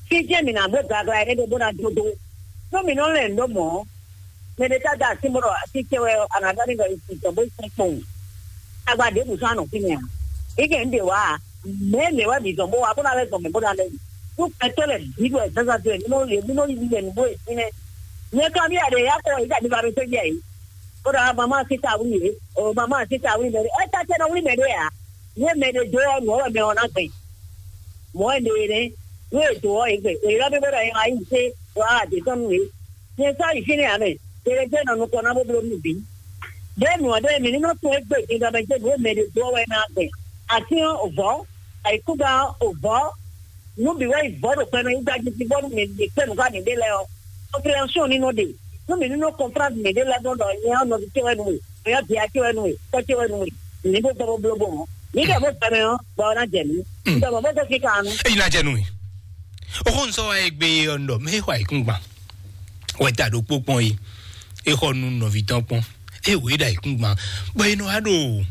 Fí jɛ́n mǐ ná bló glagla énɛ́ ɖé bó ná dó dó. Nú mǐ nɔ lɛn nǔ ɖó mɔ̌, mɛ ɖé ka dó así bó ɖɔ así ce wɛ ɔ́, a nǎ ɖɔ n'i ɖɔ è sin tɔn bó sin kpowun. Tagba ɖěbǔ sɔ́ a nɔ fínɛ́ ǎ. Mi kɛ un ɖe wǎ ǎ. Mɛ̌ mɛ wɛ mǐ zɔn bó wá bó ná lɛ́ zɔn mɛ bó ná lɛ́ yi? Nú gbɛtɔ́ lɛ́ɛ bǐ ɖo ɛ̌zázá dó wɛ, mí nɔ mí nɔ yi yɛ nǔgbó e fínɛ́. Nyɛ ka mì aɖe ya kɔ yi ɖa mi ba mi sɔ́ jɛ yi. Bó ɖɔ mama síta wlí yě, o mama síta wlí mɛ ɖé. Ɛ ta tɛ nɔ wlí mɛ ɖé ǎ. Ní mɛ ɖé dó ɔ́, nǔ ɔ́ wɛ mɛ ɔ́ ná gbɛn. Mɔ̌ wɛ ɖe nɛ́. Nú è dǒ ɔ́, è gbɛn. È ylɔ́ mì bó ɖɔ è wá yi zé wá ɖě tɔn nú yě. Nyɛ sɔ́ yi fínɛ́ ǎ mɛ. Ɖe lɛ́ɛ jẹ́ nɔ nukɔn ná bó bló nú bǐ. Ɖěe nǔ ɔ́ ɖe mǐ ní nɔ tunwun égbé din ɖɔ mɛ jɛ nǔ e mɛ ɖě dó ɔ́ wɛ ná gbɛn. Atín ɔ́, vɔ̌, ayǐkúngban ɔ́, vɔ̌, nǔ bǐ wɛ yi vɔ̌ ɖo gbɛmɛ yígbá jí sí bónú mǐ mǐ kpé nǔ xá mǐɖée lɛ́ɛ ɔ́, compréhension ní nɔ ɖe. Nú mǐ ní nɔ comprendre mǐɖée lɛ́ɛ gbɔn ɖɔ nyɛ ɔ́ nɔví ce wɛ nú we, mǐ ɔ́ dia ce wɛ nú we, tɔ́ ce wɛ nú we, mǐ ní bó gbɔ bó bló bó mɔ̌. Mǐ ɖɔ bó gbɛmɛ ɔ́, bɔ ɔ́ ná jɛ mǐ. Un ɖɔ mɔ̌ bó gosín kan nu. Eyi ná jɛ nú mi. Oxó un sɔ́ wá egbe ɔ́ ɖɔ mɛ xɔ ayǐkúngban wɛ ta ɖokpó kpɔn yi. E xɔ nú nɔví tɔn kpɔn. E wě ɖo ayǐkúngban bɔ e nɔ wá ɖo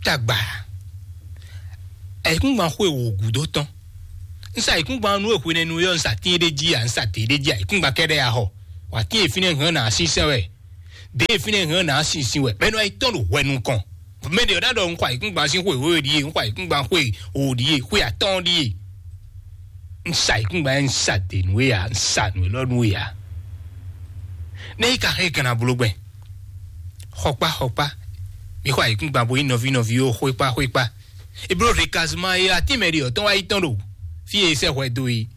tagba. Ayǐkúngban xwe wò gǔdo tɔn. Un sa ayǐkúngban nú e hwenɛ́nu é ɔ́, un sa tín ɖé jí a, un sa dě ɖé jí ayǐkúngban kɛ́ɖɛ́ ya xɔ. Wǎ tín e fínɛ́ hɛn ná sínsɛ́n wɛ. Ɖěe fínɛ́ hɛn ná sinsin wɛ mɛ nɔ yi tɔn ɖo hwɛ nukɔn. Mɛ ɖě ɔ́ ná ɖɔ un xɔ ayǐkúngban sín xwe wěwe ɖíe, un xɔ ayǐkúngban xwe wǒ ɖíe, xwe atɔ́ɔ́n ɖíe. Un sa ayǐkúngban, un sa dě nú we ǎ, un sa nǔ élɔ́ nú we ǎ. Nɛ́ yi ka xɛ gǎn abló gbɛn? Xɔkpá xɔkpá, mi xɔ ayǐkúngban bo nyí nɔví nɔví ó, xwékpá xwékpá. Eblo recasement e atín mɛ ɖě ɔ́ tɔn wá yi tɔn ɖo fí e sɛ́ hwɛ dó é.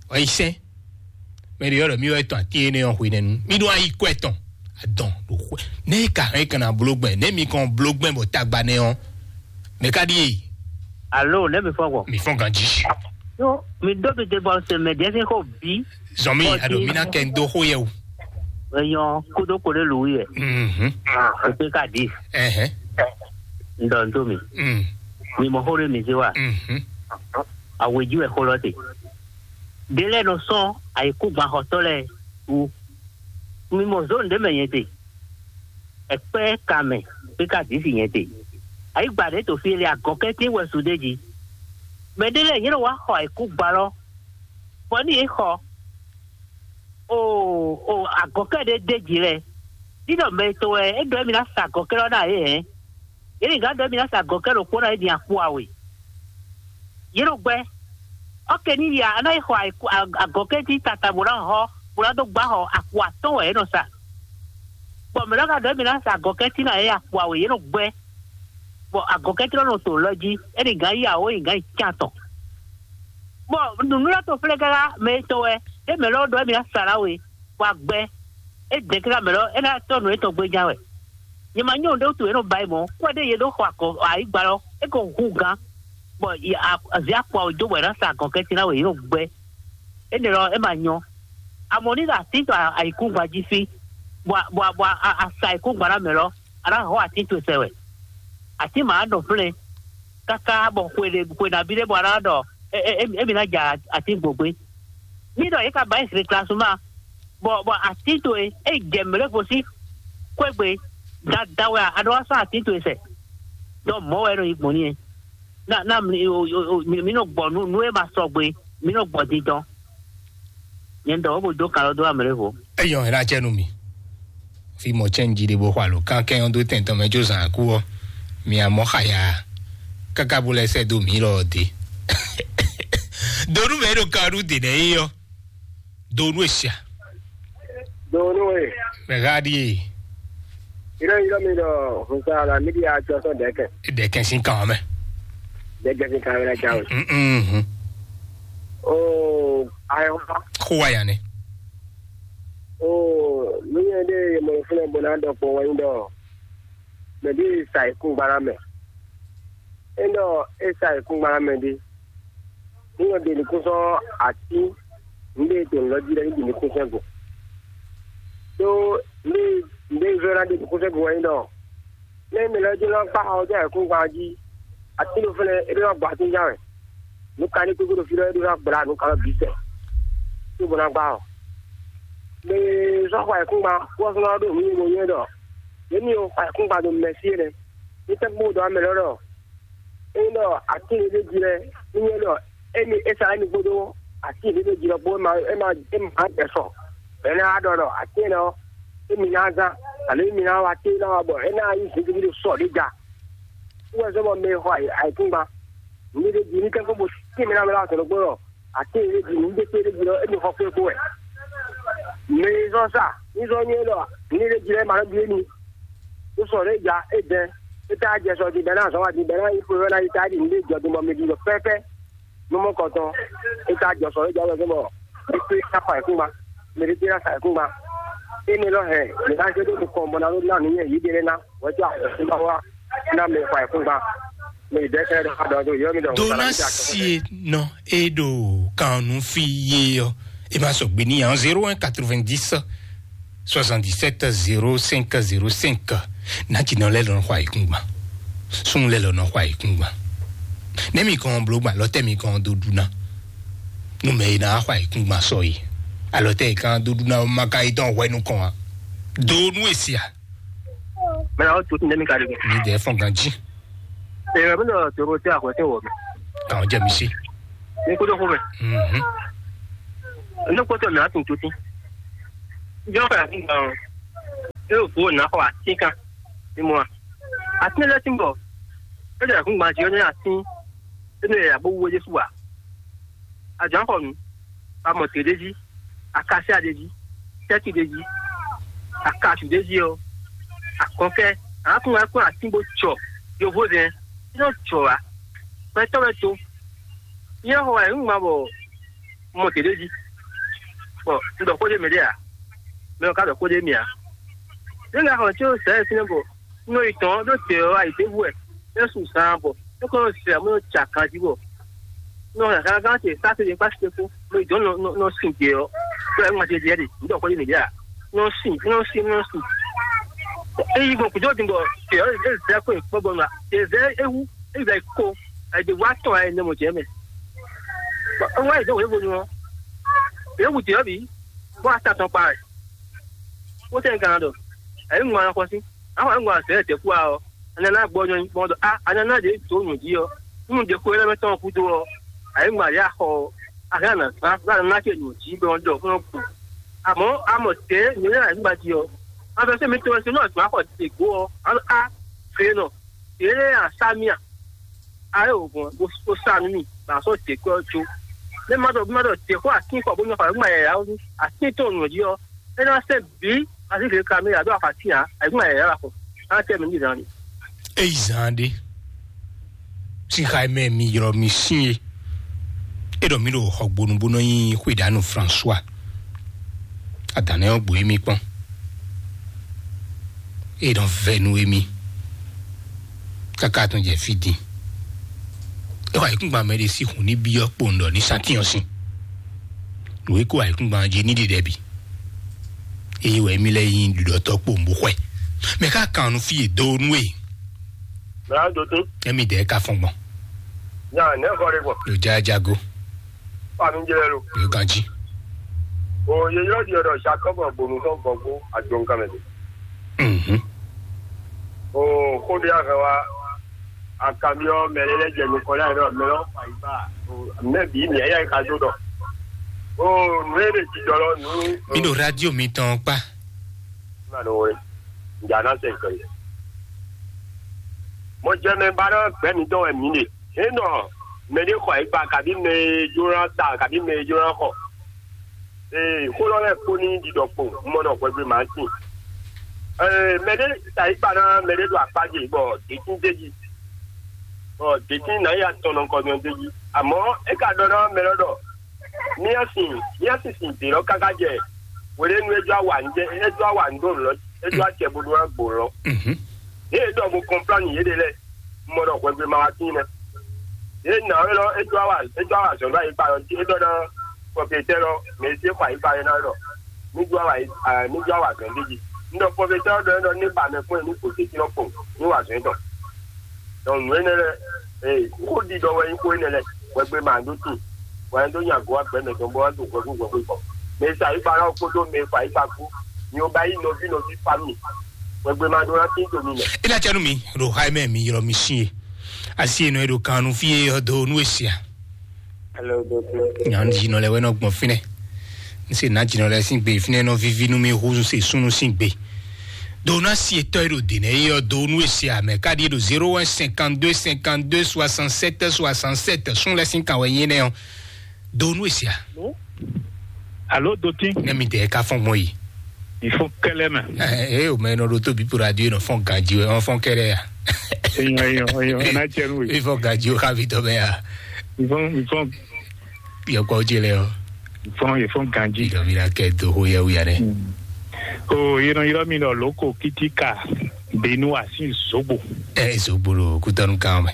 Wá yi sɛn. Mɛ ɖě ɔ́ ɖɔ mì wɛ tɔn atín énɛ́ ɔ́ hwenɛ́nu. Mì ɖó ayi kɔ ɛtɔn adɔn ɖo xwe. Nɛ́ yi ka hɛn kan ná bló gbɛn, nɛ́ mi kɔn bló gbɛn bɔ tagba nɛ́ ɔ́, mɛ ka ɖíe? Alo, nɛ́ mi fɔ́n gbɔn? Mi fɔ́n ganjí. Yo, mi ɖó mi te bɔ se mɛ ɖɛ́ sín xó bí. Zɔn mi, ado mi ná kɛ n dó xó yɛ o. Eyɔn kúdó kpo ɖé lǔwí yɛ. Mhm. Ètò ka dì. Ɛhɛn. Ŋdɔ n tó mi. Mm. Mi mɔ xó ɖé mi zé wa. Mhm. Awějí wɛ xó lɔ te. Ɖé lɛ́ɛ nɔ sɔ́n ayǐkúngban xɔtɔ́ lɛ́ɛ wú. Mi mɔ zǒn ɖé mɛ nyɛ te. Ɛkpɛ́ ka mɛ, pé ka dǐ si nyɛ te. Ayǐgba ɖě to fí e lɛ agɔ̌kɛ́tín wɛ su ɖé jí. Mɛ ɖé lɛ́ɛ nyɛ nɔ wá xɔ ayǐkúngban lɔ, bɔ ní yě xɔ o o agɔ̌kɛ́ ɖé d'é jí lɛ́ɛ. Ní ɖɔ mɛ tɔn wɛ é ɖɔ émí ná sa agɔ̌kɛ́ lɔ ná yě hɛn. Yě ní gán ɖɔ émí ná sa agɔ̌kɛ́ ɖokpó ná yě din akpo awe. Yě nɔ gbɛ́. Ɔ́ ke ní ya, a ná yi xɔ agɔ̌kɛ́ jí tata bó ná hɔ, bó ná dó gbá xɔ akpo atɔ́ɔ́n wɛ yě nɔ sa. Bɔ mɛ̌ nɔ ka ɖɔ émí ná sa agɔ̌kɛ́ cí ná yě akpo awe yě nɔ gbɛ́. Bɔ agɔ̌kɛ́ cí nɔ to lɔ jí, é ní gán yi awǒ yi gán yi can tɔn. Bɔ nǔnúɖatɔ́ flɛ́ káká mɛ e tɔn wɛ, ɖé mɛ̌ lɔ ɖɔ émí ná sa ná we, bɔ agbɛ́ é dɛ̌ káká mɛ̌ lɔ é ná tɔ́ nǔ étɔn gbéjá wɛ. Nyɛ ma nyɔ́ nǔɖé wútu yě nɔ ba yi mɔ̌, kú ɛ ɖé yě ɖó xɔ akɔ ayǐgba lɔ, é ko hu gán, bɔ azǐ akpa ɔ́ jó bɔ è nǎ sa agɔ̌kɛ́tín ná wɛ yě nɔ gbɛ́. Énɛ́ lɔ é ma nyɔ́. Amɔ̌ ní ɖo atín tɔn ayǐkúngban jí fí, bɔ a- bɔ a- bɔ a- a- a sa ayǐkúngban ná mɛ lɔ, a nǎ hɔ́ atín towe sɛ wɛ. Atín ma nɔ flɛ́n káká bɔ xwe ɖé xwe nabí ɖé bɔ a nǎ ɖɔ é- é- é- émí ná ja atín gbogbe. Ní ɖɔ yě ka ba yi réclassement, bɔ bɔ atín towe é jɛ mɛ̌ lɛ́ɛ gosín xwé gbe, dada wɛ a ɖo wá sɔ́ atín towe sɛ. Dɔ mɔ̌ wɛ é nɔ yi gbɔn n'i. Na na mi o- o- o- mi mi nɔ gbɔ nú nú e ma sɔgbe, mi nɔ gbɔ dindɔn. Nyɛ ɖɔ wo bo dó kalɔ dó amɛ lɛ́ɛ vo. Eyɔn hɛn acɛ nú mi. Fi mɔ cɛn jí ɖe bó xɔ alo kan kɛn ɔ́ dó tɛn tɔn mɛ jó zan akú ɔ́, mi amɔ xaya káká bó lɛ sɛ dó mi lɔ dé. Donu mɛ ɖo kan ɖu dé nɛ yi ɔ. Donu esia. Donu e. Mɛ ha ɖi e. Iro iro mi ɖɔ hunsa la mi ɖi atsɔ sɔn dɛkɛ. Dɛkɛ sin kan mɛ. Dɛkɛ sin kan mɛ na jawe. Mm. Oo, ayɔ. Xó wa ya nɛ. Oo, nu nyɛ ɖe mɔ fúnɛ bó ná ɖɔ kpɔn wɛnyi ɖɔ mɛ ɖi sa ikú gbala mɛ. É ɖɔ é sa ikú gbala mɛ ɖi. Ní yɔ ɖe nukúnsɔ atí, nɖe to nlɔ jí ɖe ní ɖe nukúnsɔ go. Ɖó ní nɖe zɔ ná ɖe nukúnsɔ go wɛnyi ɖɔ. Ní mɛ lɛ́ɛ jlɔ́ kpá xɔ jɛ ayǐkúngban jí. Atín ɖo fɛ́nɛ é ɖó ná gbɔ atín ján wɛ. Nǔ ka ní kúkú ɖo fí ɖɔ é ɖó ná gbla nǔ ka nɔ bǐ sɛ. Tó bó ná gbá ɔ. Mɛ sɔ́ xɔ ayǐkúngban kú ɔ́ sɔ́ ná ɖo nǔ nyi mo nywɛ́ ɖɔ. Yě ní xɔ ayǐkúngban ɖo mɛ̌si é nɛ́. Ní tɛ́ kpó ɖɔ amɛ lɛ́ɛ ɖɔ. É nyí ɖɔ atín e ɖ'é jí lɛ́ɛ, ní nyí ɖɔ émi é sa émi kpódó atín e ɖ'é jí lɔ kpó é ma é ma é ma jɛ sɔ. Bɔ é ná wá ɖɔ ɖɔ atín énɛ́ ɔ́, émi ná zán, alo émi ná wá té ná wá bɔ é ná nyí zǐngídi ɖo sɔ ɖé ja. Wú wɛ zɔ́n bɔ mɛ e xɔ ayǐkúngban, nǔ ɖé jí ní kɛ́kɔ́ bo tín mɛ ná mɛ ná sɔ̌ ɖokpó ɖɔ atín e ɖ'é jí nǔ ɖé kpé ɖ'é jí lɔ émi xɔ kpé kpó wɛ. Mɛ e zɔ́n sa ní zɔ́n nyí ɖɔ nǔ ɖé jí lɛ́ɛ ma nɔ ɖu émi. Ó sɔ́ ɖě ja é dɛn, é tá jɛ sɔ din bɛ́ ná azɔ̌ wa din bɛ́ ná yi xwé wɛ ná yi tá ɖi nǔɖé jɔ din bɔ mi ɖi ɖɔ pɛ́pɛ́. Nú mɔ kɔntɔn, é tá jɔ sɔ é jɔ wɛ bɔ é kpé ká fa ẹ̀kúngba, mɛ ɖé kpé ná sa ẹ̀kúngba. Énɛ́ lɔ hɛn, mɛ ná zé ɖó nukɔn bɔ ná ɖó ná nǔ nyɛ yǐ ɖé ná, wɛ tó àkɔsíbá wá ná mɛ fa ẹ̀kúngba. Mɛ ìdẹ́kẹ́ ɖɔ ká dɔn tó yɔ mi dɔn. Dona sie nɔ e ɖo kan nu fi ye ɔ, e ma sɔgbe ni yan zéro un quatre-vingt-dix soixante-dix-sept zéro cinq zéro cinq. Natsinɔ lɛ lɔ nɔ xɔ ayikungban. Sun lɛ lɔ nɔ xɔ ayikungban. Ne mi kɔn blo gban lɔ tɛ mi kɔn do duna. Nu mɛ yi na xɔ ayikungban sɔ yi. Alɔ tɛ yi kan do duna o ma ka yi tɔn hwɛ nu kɔn wa. Do nu esia. Mɛ na o tu ne mi ka de. Mi dɛ fɔn ganji. Ee, mi dɔ toro te akwɛ te wɔ mi. Kan jɛ mi si. Ni ko do ko mɛ. Mhm. Ne ko to mi a tun tuti. Jɔ ka ni gan. é ɖo vo nǎ xɔ atín kan ní mɔ a. Atín lɛ́ɛ tín bɔ é ɖo ayǐkúngban jí ɔ́ nɛ́ atín é nɔ yɛ bó wú é ɖésú ǎ. Ajǎnxɔnu, amɔtě ɖé jí, akasia ɖé jí, tɛ́ti ɖé jí, akasu ɖé jí ɔ́, akɔnkɛ́, akún wɛ kún atín bó jɔ yovózɛn, é nɔ jɔ ǎ. Gbɛtɔ́ wɛ to. Nyɛ xɔ wɛ nǔ ma bɔ mɔ tě ɖé jí, bɔ un ɖɔ xó ɖé mɛ ɖé ǎ, mɛ ɔ́ ka ɖɔ xó ɖé mì ǎ. Nígbà xɔ tí ó sɛ́ fínɛ́ bɔ un nɔ yi tɔn ɖó tě ɔ́ ayǐtéhú wɛ, é su zaan bɔ é kɔn nɔ zɛ amú nɔ ja ganjí bɔ un nɔ hɛn gangan ce sáfì ɖé kpá sí kpó, mo yi dɔn nɔ nɔ sin tě ɔ́, ɖó ɛ ŋma ce ɖiɛ ɖe, un ɖɔ xó ɖé mì ɖé ǎ. Nɔ sin, nɔ sin, nɔ sin. É yi gbɔn kújɔ din bɔ tě ɔ́ é zɛ kó yi kpɔ́ bɔ nɔ tě zɛ é wú, é zɛ kó, ayǐtéhú atɔn ayé nɛ mɔ jɛ mɛ. Bɔ é wá yi dɔn wěvo nu ɔ́, é wú tě ɔ́ bǐ, bɔ ata tɔn kpa wɛ. Wotɛn gán ɖɔ, ayǐ ŋun anɔ xɔ sí, axɔ ayǐ ŋun azɛ dɛ̌kú a ɔ́, ananá gbɔ nyɔ bɔ ɖɔ a ananá ɖě dǒ nǔ jí ɔ́, nú ɖě xwé lɛ́ɛ mɛ tɔn gúdo ɔ́, ayǐ ŋun ayǐ axɔ ɔ́, axɛ ana zán bɔ ananá ce nǔ jí bɔ ɖɔ fún ɔ́ kú. Amɔ̌ amɔ tě nyɛ lɛ́ɛ ayǐ ŋun jí ɔ́, afɛsɛ mi tɔn wɛ se nú azɔ̌ axɔ dě gbó ɔ́, a a fě nɔ, yě lɛ́ɛ asá mì a. Ayé o gbɔn bó sa nú mì bɔ a sɔ́ dě kɔ́ jó. Mɛ ma ɖɔ ma ɖɔ dě xó atín xɔ bó nyɔ́ xɔ ayǐkúngban yǎyá ɔ́ nú atín tɔn nǔ jí ɔ́, é ná sɛ́ bǐ azígbe kaméra ɖó axɔ atín ǎ, ayǐkúngban yǎyá wɛ xɔ. Á tɛ mɛ ní zan ɖe. Eyi zan ɖé. Sín xa mɛ mi ylɔ mi sín e. É ɖɔ mí ɖo xɔgbonu bó nɔ nyi xwéɖánu François. Adǎn ɔ́ gbo émí kpɔ́n. É nɔ vɛ nú émí. Káká tɔn jɛ fí din. É xɔ ayǐkúngban mɛ ɖé sí hun ní byɔ́ kpowun ɖɔ ní sátiyɔn sín. Nǔ e kó ayǐkúngban jí ní ɖiɖɛ bǐ. Eye wɛ émí lɛ́ɛ nyí ɖuɖɔtɔ́ kpowun bó xwɛ. Mɛ ká kan nú fí e dó nú e. Mɛ á dó tó. Émí dɛɛ ka fɔn gbɔn. Nya nɛ̌ xɔ ɖé gbɔn. Ɖo jájágó. Fami jɛ lɛ lo. Ɖo ganjí. O ye ylɔ́ ɖi ɔ́ ɖɔ Jacob gbonu tɔn gbɔn gbó adzɔnkan mɛ ɖe. Mhm. O xó ɖé ahɛn wa akamyɔ mɛ lɛ lɛ jɛ nukɔ lɛ ɖɔ mɛ lɔ fa yi ba. Mɛ bi mɛ ya yi ka do ɖɔ. O nú e ɖe jijɔ lɔ nú. Mi ɖo radio mi tɔn kpa. Mano we. Nja na se kɛ. Mo jɛ mɛ ba ɖɔ gbɛ mi tɔn wɛ mi ɖe. Enɔ mɛ ɖé xɔ yi ba kabi mɛ e jló ná ta kabi mɛ e jló ná xɔ. Ee, xó lɔ lɛ́ɛ kpó ní ɖiɖɔ kpo, un mɔ ɖɔ hwɛgbe mǎ sin. Ee, mɛ ɖé ta yi kpa ná mɛ ɖé ɖo akpá ce bɔ dětín d'é jí, bɔ dětín ná yi atɔn nɔ kɔ nyɔ d'é jí. Amɔ̌ é ka ɖɔ ná mɛ lɔ ɖɔ mía sin mía sin sin dě lɔ káká jɛ hweɖénu é jɔ awa ń jɛ é jɔ awa ń ɖó lɔ é jɔ acɛ bó ɖó ná gbo lɔ. Mhm. Yě ɖɔ bo kɔnplán yě ɖe lɛ́ɛ, un mɔ ɖɔ hwɛgbe ma wá tín nɛ́. Yě nǎ é lɔ é jɔ awa é jɔ awa zɔ̌n ɖó ayǐkpa lɔ jí é ɖɔ ná pɔpɛtɛ́ lɔ mɛ e sí xɔ ayǐkpa é ná ɖɔ ní jɔ awa ní jɔ awa zɔ̌n ɖé jí. Un ɖɔ pɔpɛtɛ́ ɔ́ ɖɔ é ɖɔ ní ba mɛ kpɔ́n ní gbo tɛ́ntin lɔ kpɔn ní wa zɔ̌n tɔn. Donc nǔ énɛ́ lɛ́ɛ ee xó ɖiɖɔ wɛ nyí xó énɛ́ lɛ́ɛ hwɛgbe ma ɖó tin. Wɛ dó nya gɔ́ agbɛ̌ mɛ tɔn bó wá ɖo hwɛhú hwɛhú gbɔ. Mɛ e sa yí kpa ná kpódó mɛ e fa yí kpa kú. Mi ò ba yí nɔví nɔví fa mi. Hwɛgbe ma ɖó ná tín to mi mɛ. É ná cɛ nú mi ɖo xá mɛ mi ylɔ́ mi sín e. Asi e nɔ e ɖo kan nú fí e ɔ́ dó nú e sia. Hello, doctor. Nyan dzi nɔ lɛ wɛ nɔ gbɔn fínɛ. N se ná dzi nɔ lɛ sín gbe fínɛ nɔ víví nú mi hú se súnú sín gbe. Do ná si etɔ́ e ɖo dě nɛ é ɔ́ dó nú e sia mɛ káɖí e ɖo zéro un cinquante deux cinquante deux soixante sept soixante sept sún lɛ sín kan wɛ nyí énɛ́ ɔ́. Do nú e sia. Alo dotin. Ne mi dɛ ka fɔn gbɔn yi. Il faut kɛlɛ mɛ. Ɛ ɛ o mɛ nɔ ɖo tóbi po radio nɔ fɔn ganji wɛ ɔn fɔn kɛlɛ ya. Eyɔn eyɔn eyɔn ɛ n'a cɛ nu ye. Ifɔ ganji o xa bi tɔ mɛ ya. Il faut il faut. Yɛ kɔ jɛ lɛ o. Il faut il faut ganji. Idɔ mi na kɛ do ho yɛ wuya dɛ. O yɛrɛ yɛrɛ mi lɔ loko kitika benu asi zogbo. Ɛ zogbo lo kutɔnu kan mɛ.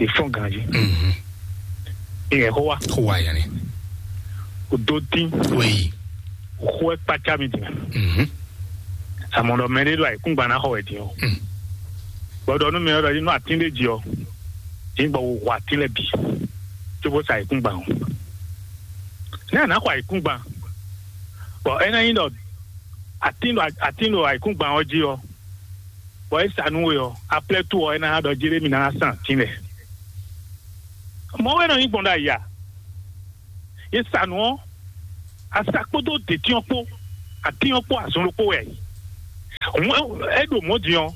Ìfɔ́n ganjí. Mhm. Ìyẹn xó wa. Xó wa yẹn ni. Kò dó dín. Wéyí. Xó ẹ kpácá mi dìgbà. Mhm. Àmọ́ ɖɔ mɛ ɖé ɖo àyíkúngban ná xɔ wɛ dín o. Mm. Gbɔdɔ nú mi ɔ́ ɖɔ nínú àtín ɖé jí ɔ. Dín gbɔ wò wò àtín lɛ bǐ. Tó bó sa àyíkúngban o. Ní àná xɔ àyíkúngban. Bɔ é ná nyí ɖɔ àtín ɖo àyíkúngban ɔ́ jí ɔ. Bɔ é sa nú we ɔ, aplɛ́ tó ɔ é ná ɖɔ Jeremi ná san atín lɛ. Mɔ̌ wɛ nɔ nyí gbɔn ɖo ayǐ a? Yě sa nǔ ɔ́, asa kpódó dětín ɔ́ kpó, atín ɔ́ kpó azɔn ɖokpó wɛ a yi. É ɖo mɔ̌ din ɔ́,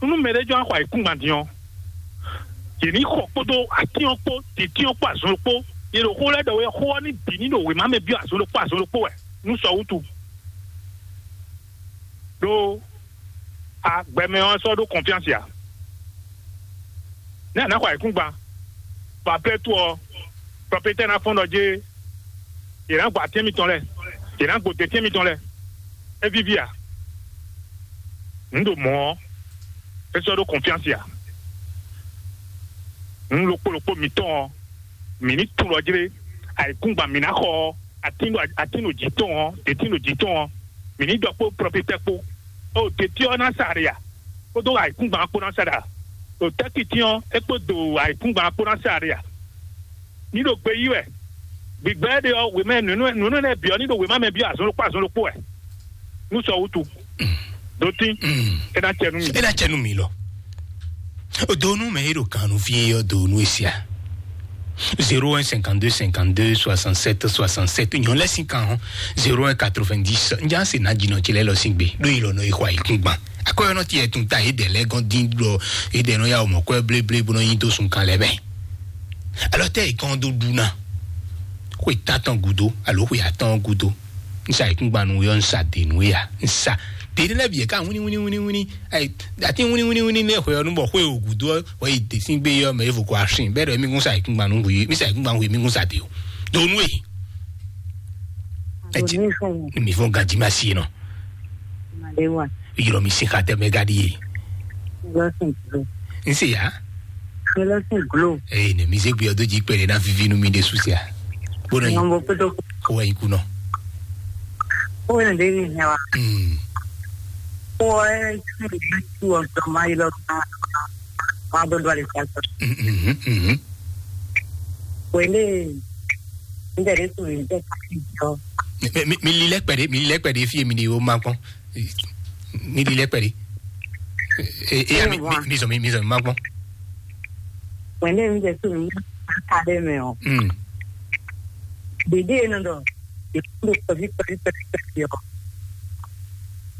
nú mɛɖé jɔ axɔ ayǐkúngban din ɔ́, yě ní xɔ kpódó atín ɔ́ kpó, tǐtín ɔ́ kpó azɔn kpó. Yě ɖo xó lɛ́ɛ ɖɔ wɛ, xó ɔ́ ní bǐ ní ɖo wěma mɛ byɔ́ azɔn ɖokpó azɔn ɖokpó wɛ nú sɔ wútu. Ɖó agbɛmɛ ɔ́ sɔ́ ɖó kɔnfyánsi ǎ. Nɛ́ a nǎ xɔ ayǐkúngban, bɔ aplɛ́ tó ɔ́, prɔfétɛ́ ná fɔ́n ɖɔ jé, yě ná gbo atín mitɔn lɛ́ɛ, yě ná gbo dɛ̌tɛ́n mitɔn lɛ́ɛ. É víví a? Nǔ ɖo mɔ̌ ɔ́, é sɔ́ ɖó kɔnfyánsi ǎ. Nǔ ɖokpó ɖokpó mǐtɔn ɔ́, mǐ ní tunwun ɖɔ jlé, ayǐkúngban mǐ ná xɔ ɔ́, atín ɖo atín ɖo jǐ tɔn ɔ́, dětín ɖo jǐ tɔn ɔ́, mǐ ní ɖɔ kpó prɔfétɛ́ kpó. Ó, dětí ɔ́ ná sa ɖe a? Kpódó ayǐkúngban ɔ́ kpó ná sa ɖe a? Ɖo tɛ́kiti ɔ́, é kpó do ayǐkúngban ɔ́ kpó ná sa ɖe a? Ní ɖo gbe yí wɛ. Gbǐgbɛ́ ɖe ɔ́, wěmɛ nǔnú nǔnú lɛ́ɛ bǐ ɔ́ ní ɖo wěma mɛ byɔ́ azɔn ɖokpó azɔn ɖokpó wɛ. Nú sɔ wútu. Ɖó tín. É ná cɛ nú mi. É ná cɛ nú mi lɔ. O do nú mɛ e ɖo kan nú fí é ɔ́, do nú e sia. Zéro un cinquante-deux cinquante-deux soixante-sept soixante-sept, nyɔ̌ lɛ́ sín kan hɔn. Zéro un quatre-vingt-dix, njá se ná jinɔ ce lɛ́ lɔ sín gbe ɖó yi lɔ nɔ yi xɔ ayǐkúngban. Akɔyɔnɔ ti yɛ tun ta yě dɛ lɛ́ gɔn dín ɖɔ yě dɛ nɔ ya mɔ kɔ́ bléblé bó nɔ nyi dó sun kan lɛ́ mɛ. Alɔ tɛ yi kɔn dó ɖu ná. Xwe tatɔn gudo alo xwe atɔn gudo. Nsa yi kúngban nu yɔ nsa de nu ya. Nsa de ne lɛ biɛ ka wini wini wini wini. Ayi ati wini wini wini ne xwe ɔnu bɔ xwe o gudo wɔ yi de sin gbe yɔ mɛ evo ko asin bɛ dɔ mi kun sa yi kúngban nu hu mi sa yi kúngban hu mi kun sa de o. Do nu e. Ɛ ti mi fɔ gaji ma si nɔ. Yɔrɔ mi si xa tɛ mɛ gadi ye. N se ya. Ee, ne mi se gbe ɔdo ji kpɛɖe na vivi nu mi de susia. Bona yi. Ko wa yi kunɔ. Ko wa yi de ni nya wa. Hmm. Ko wa yi tu tu wa ma yi lɔ ma. Ma bo do ali ka. Mhm, mhm. Wende. Ndɛ de tu ni de ka ti jɔ. Mi, mi, mi lilɛ kpɛɖe, mi lilɛ kpɛɖe fie mi ni o ma kpɔn. Mi lilɛ kpɛɖe. E, e, mi, mi, mi zɔn mi, mi zɔn mi ma kpɔn. Wende mi de tu ni ka de mɛ o. Hmm. Dede nɔ dɔ. Dede nɔ dɔ kɔvi kɔvi kɔvi kɔvi o.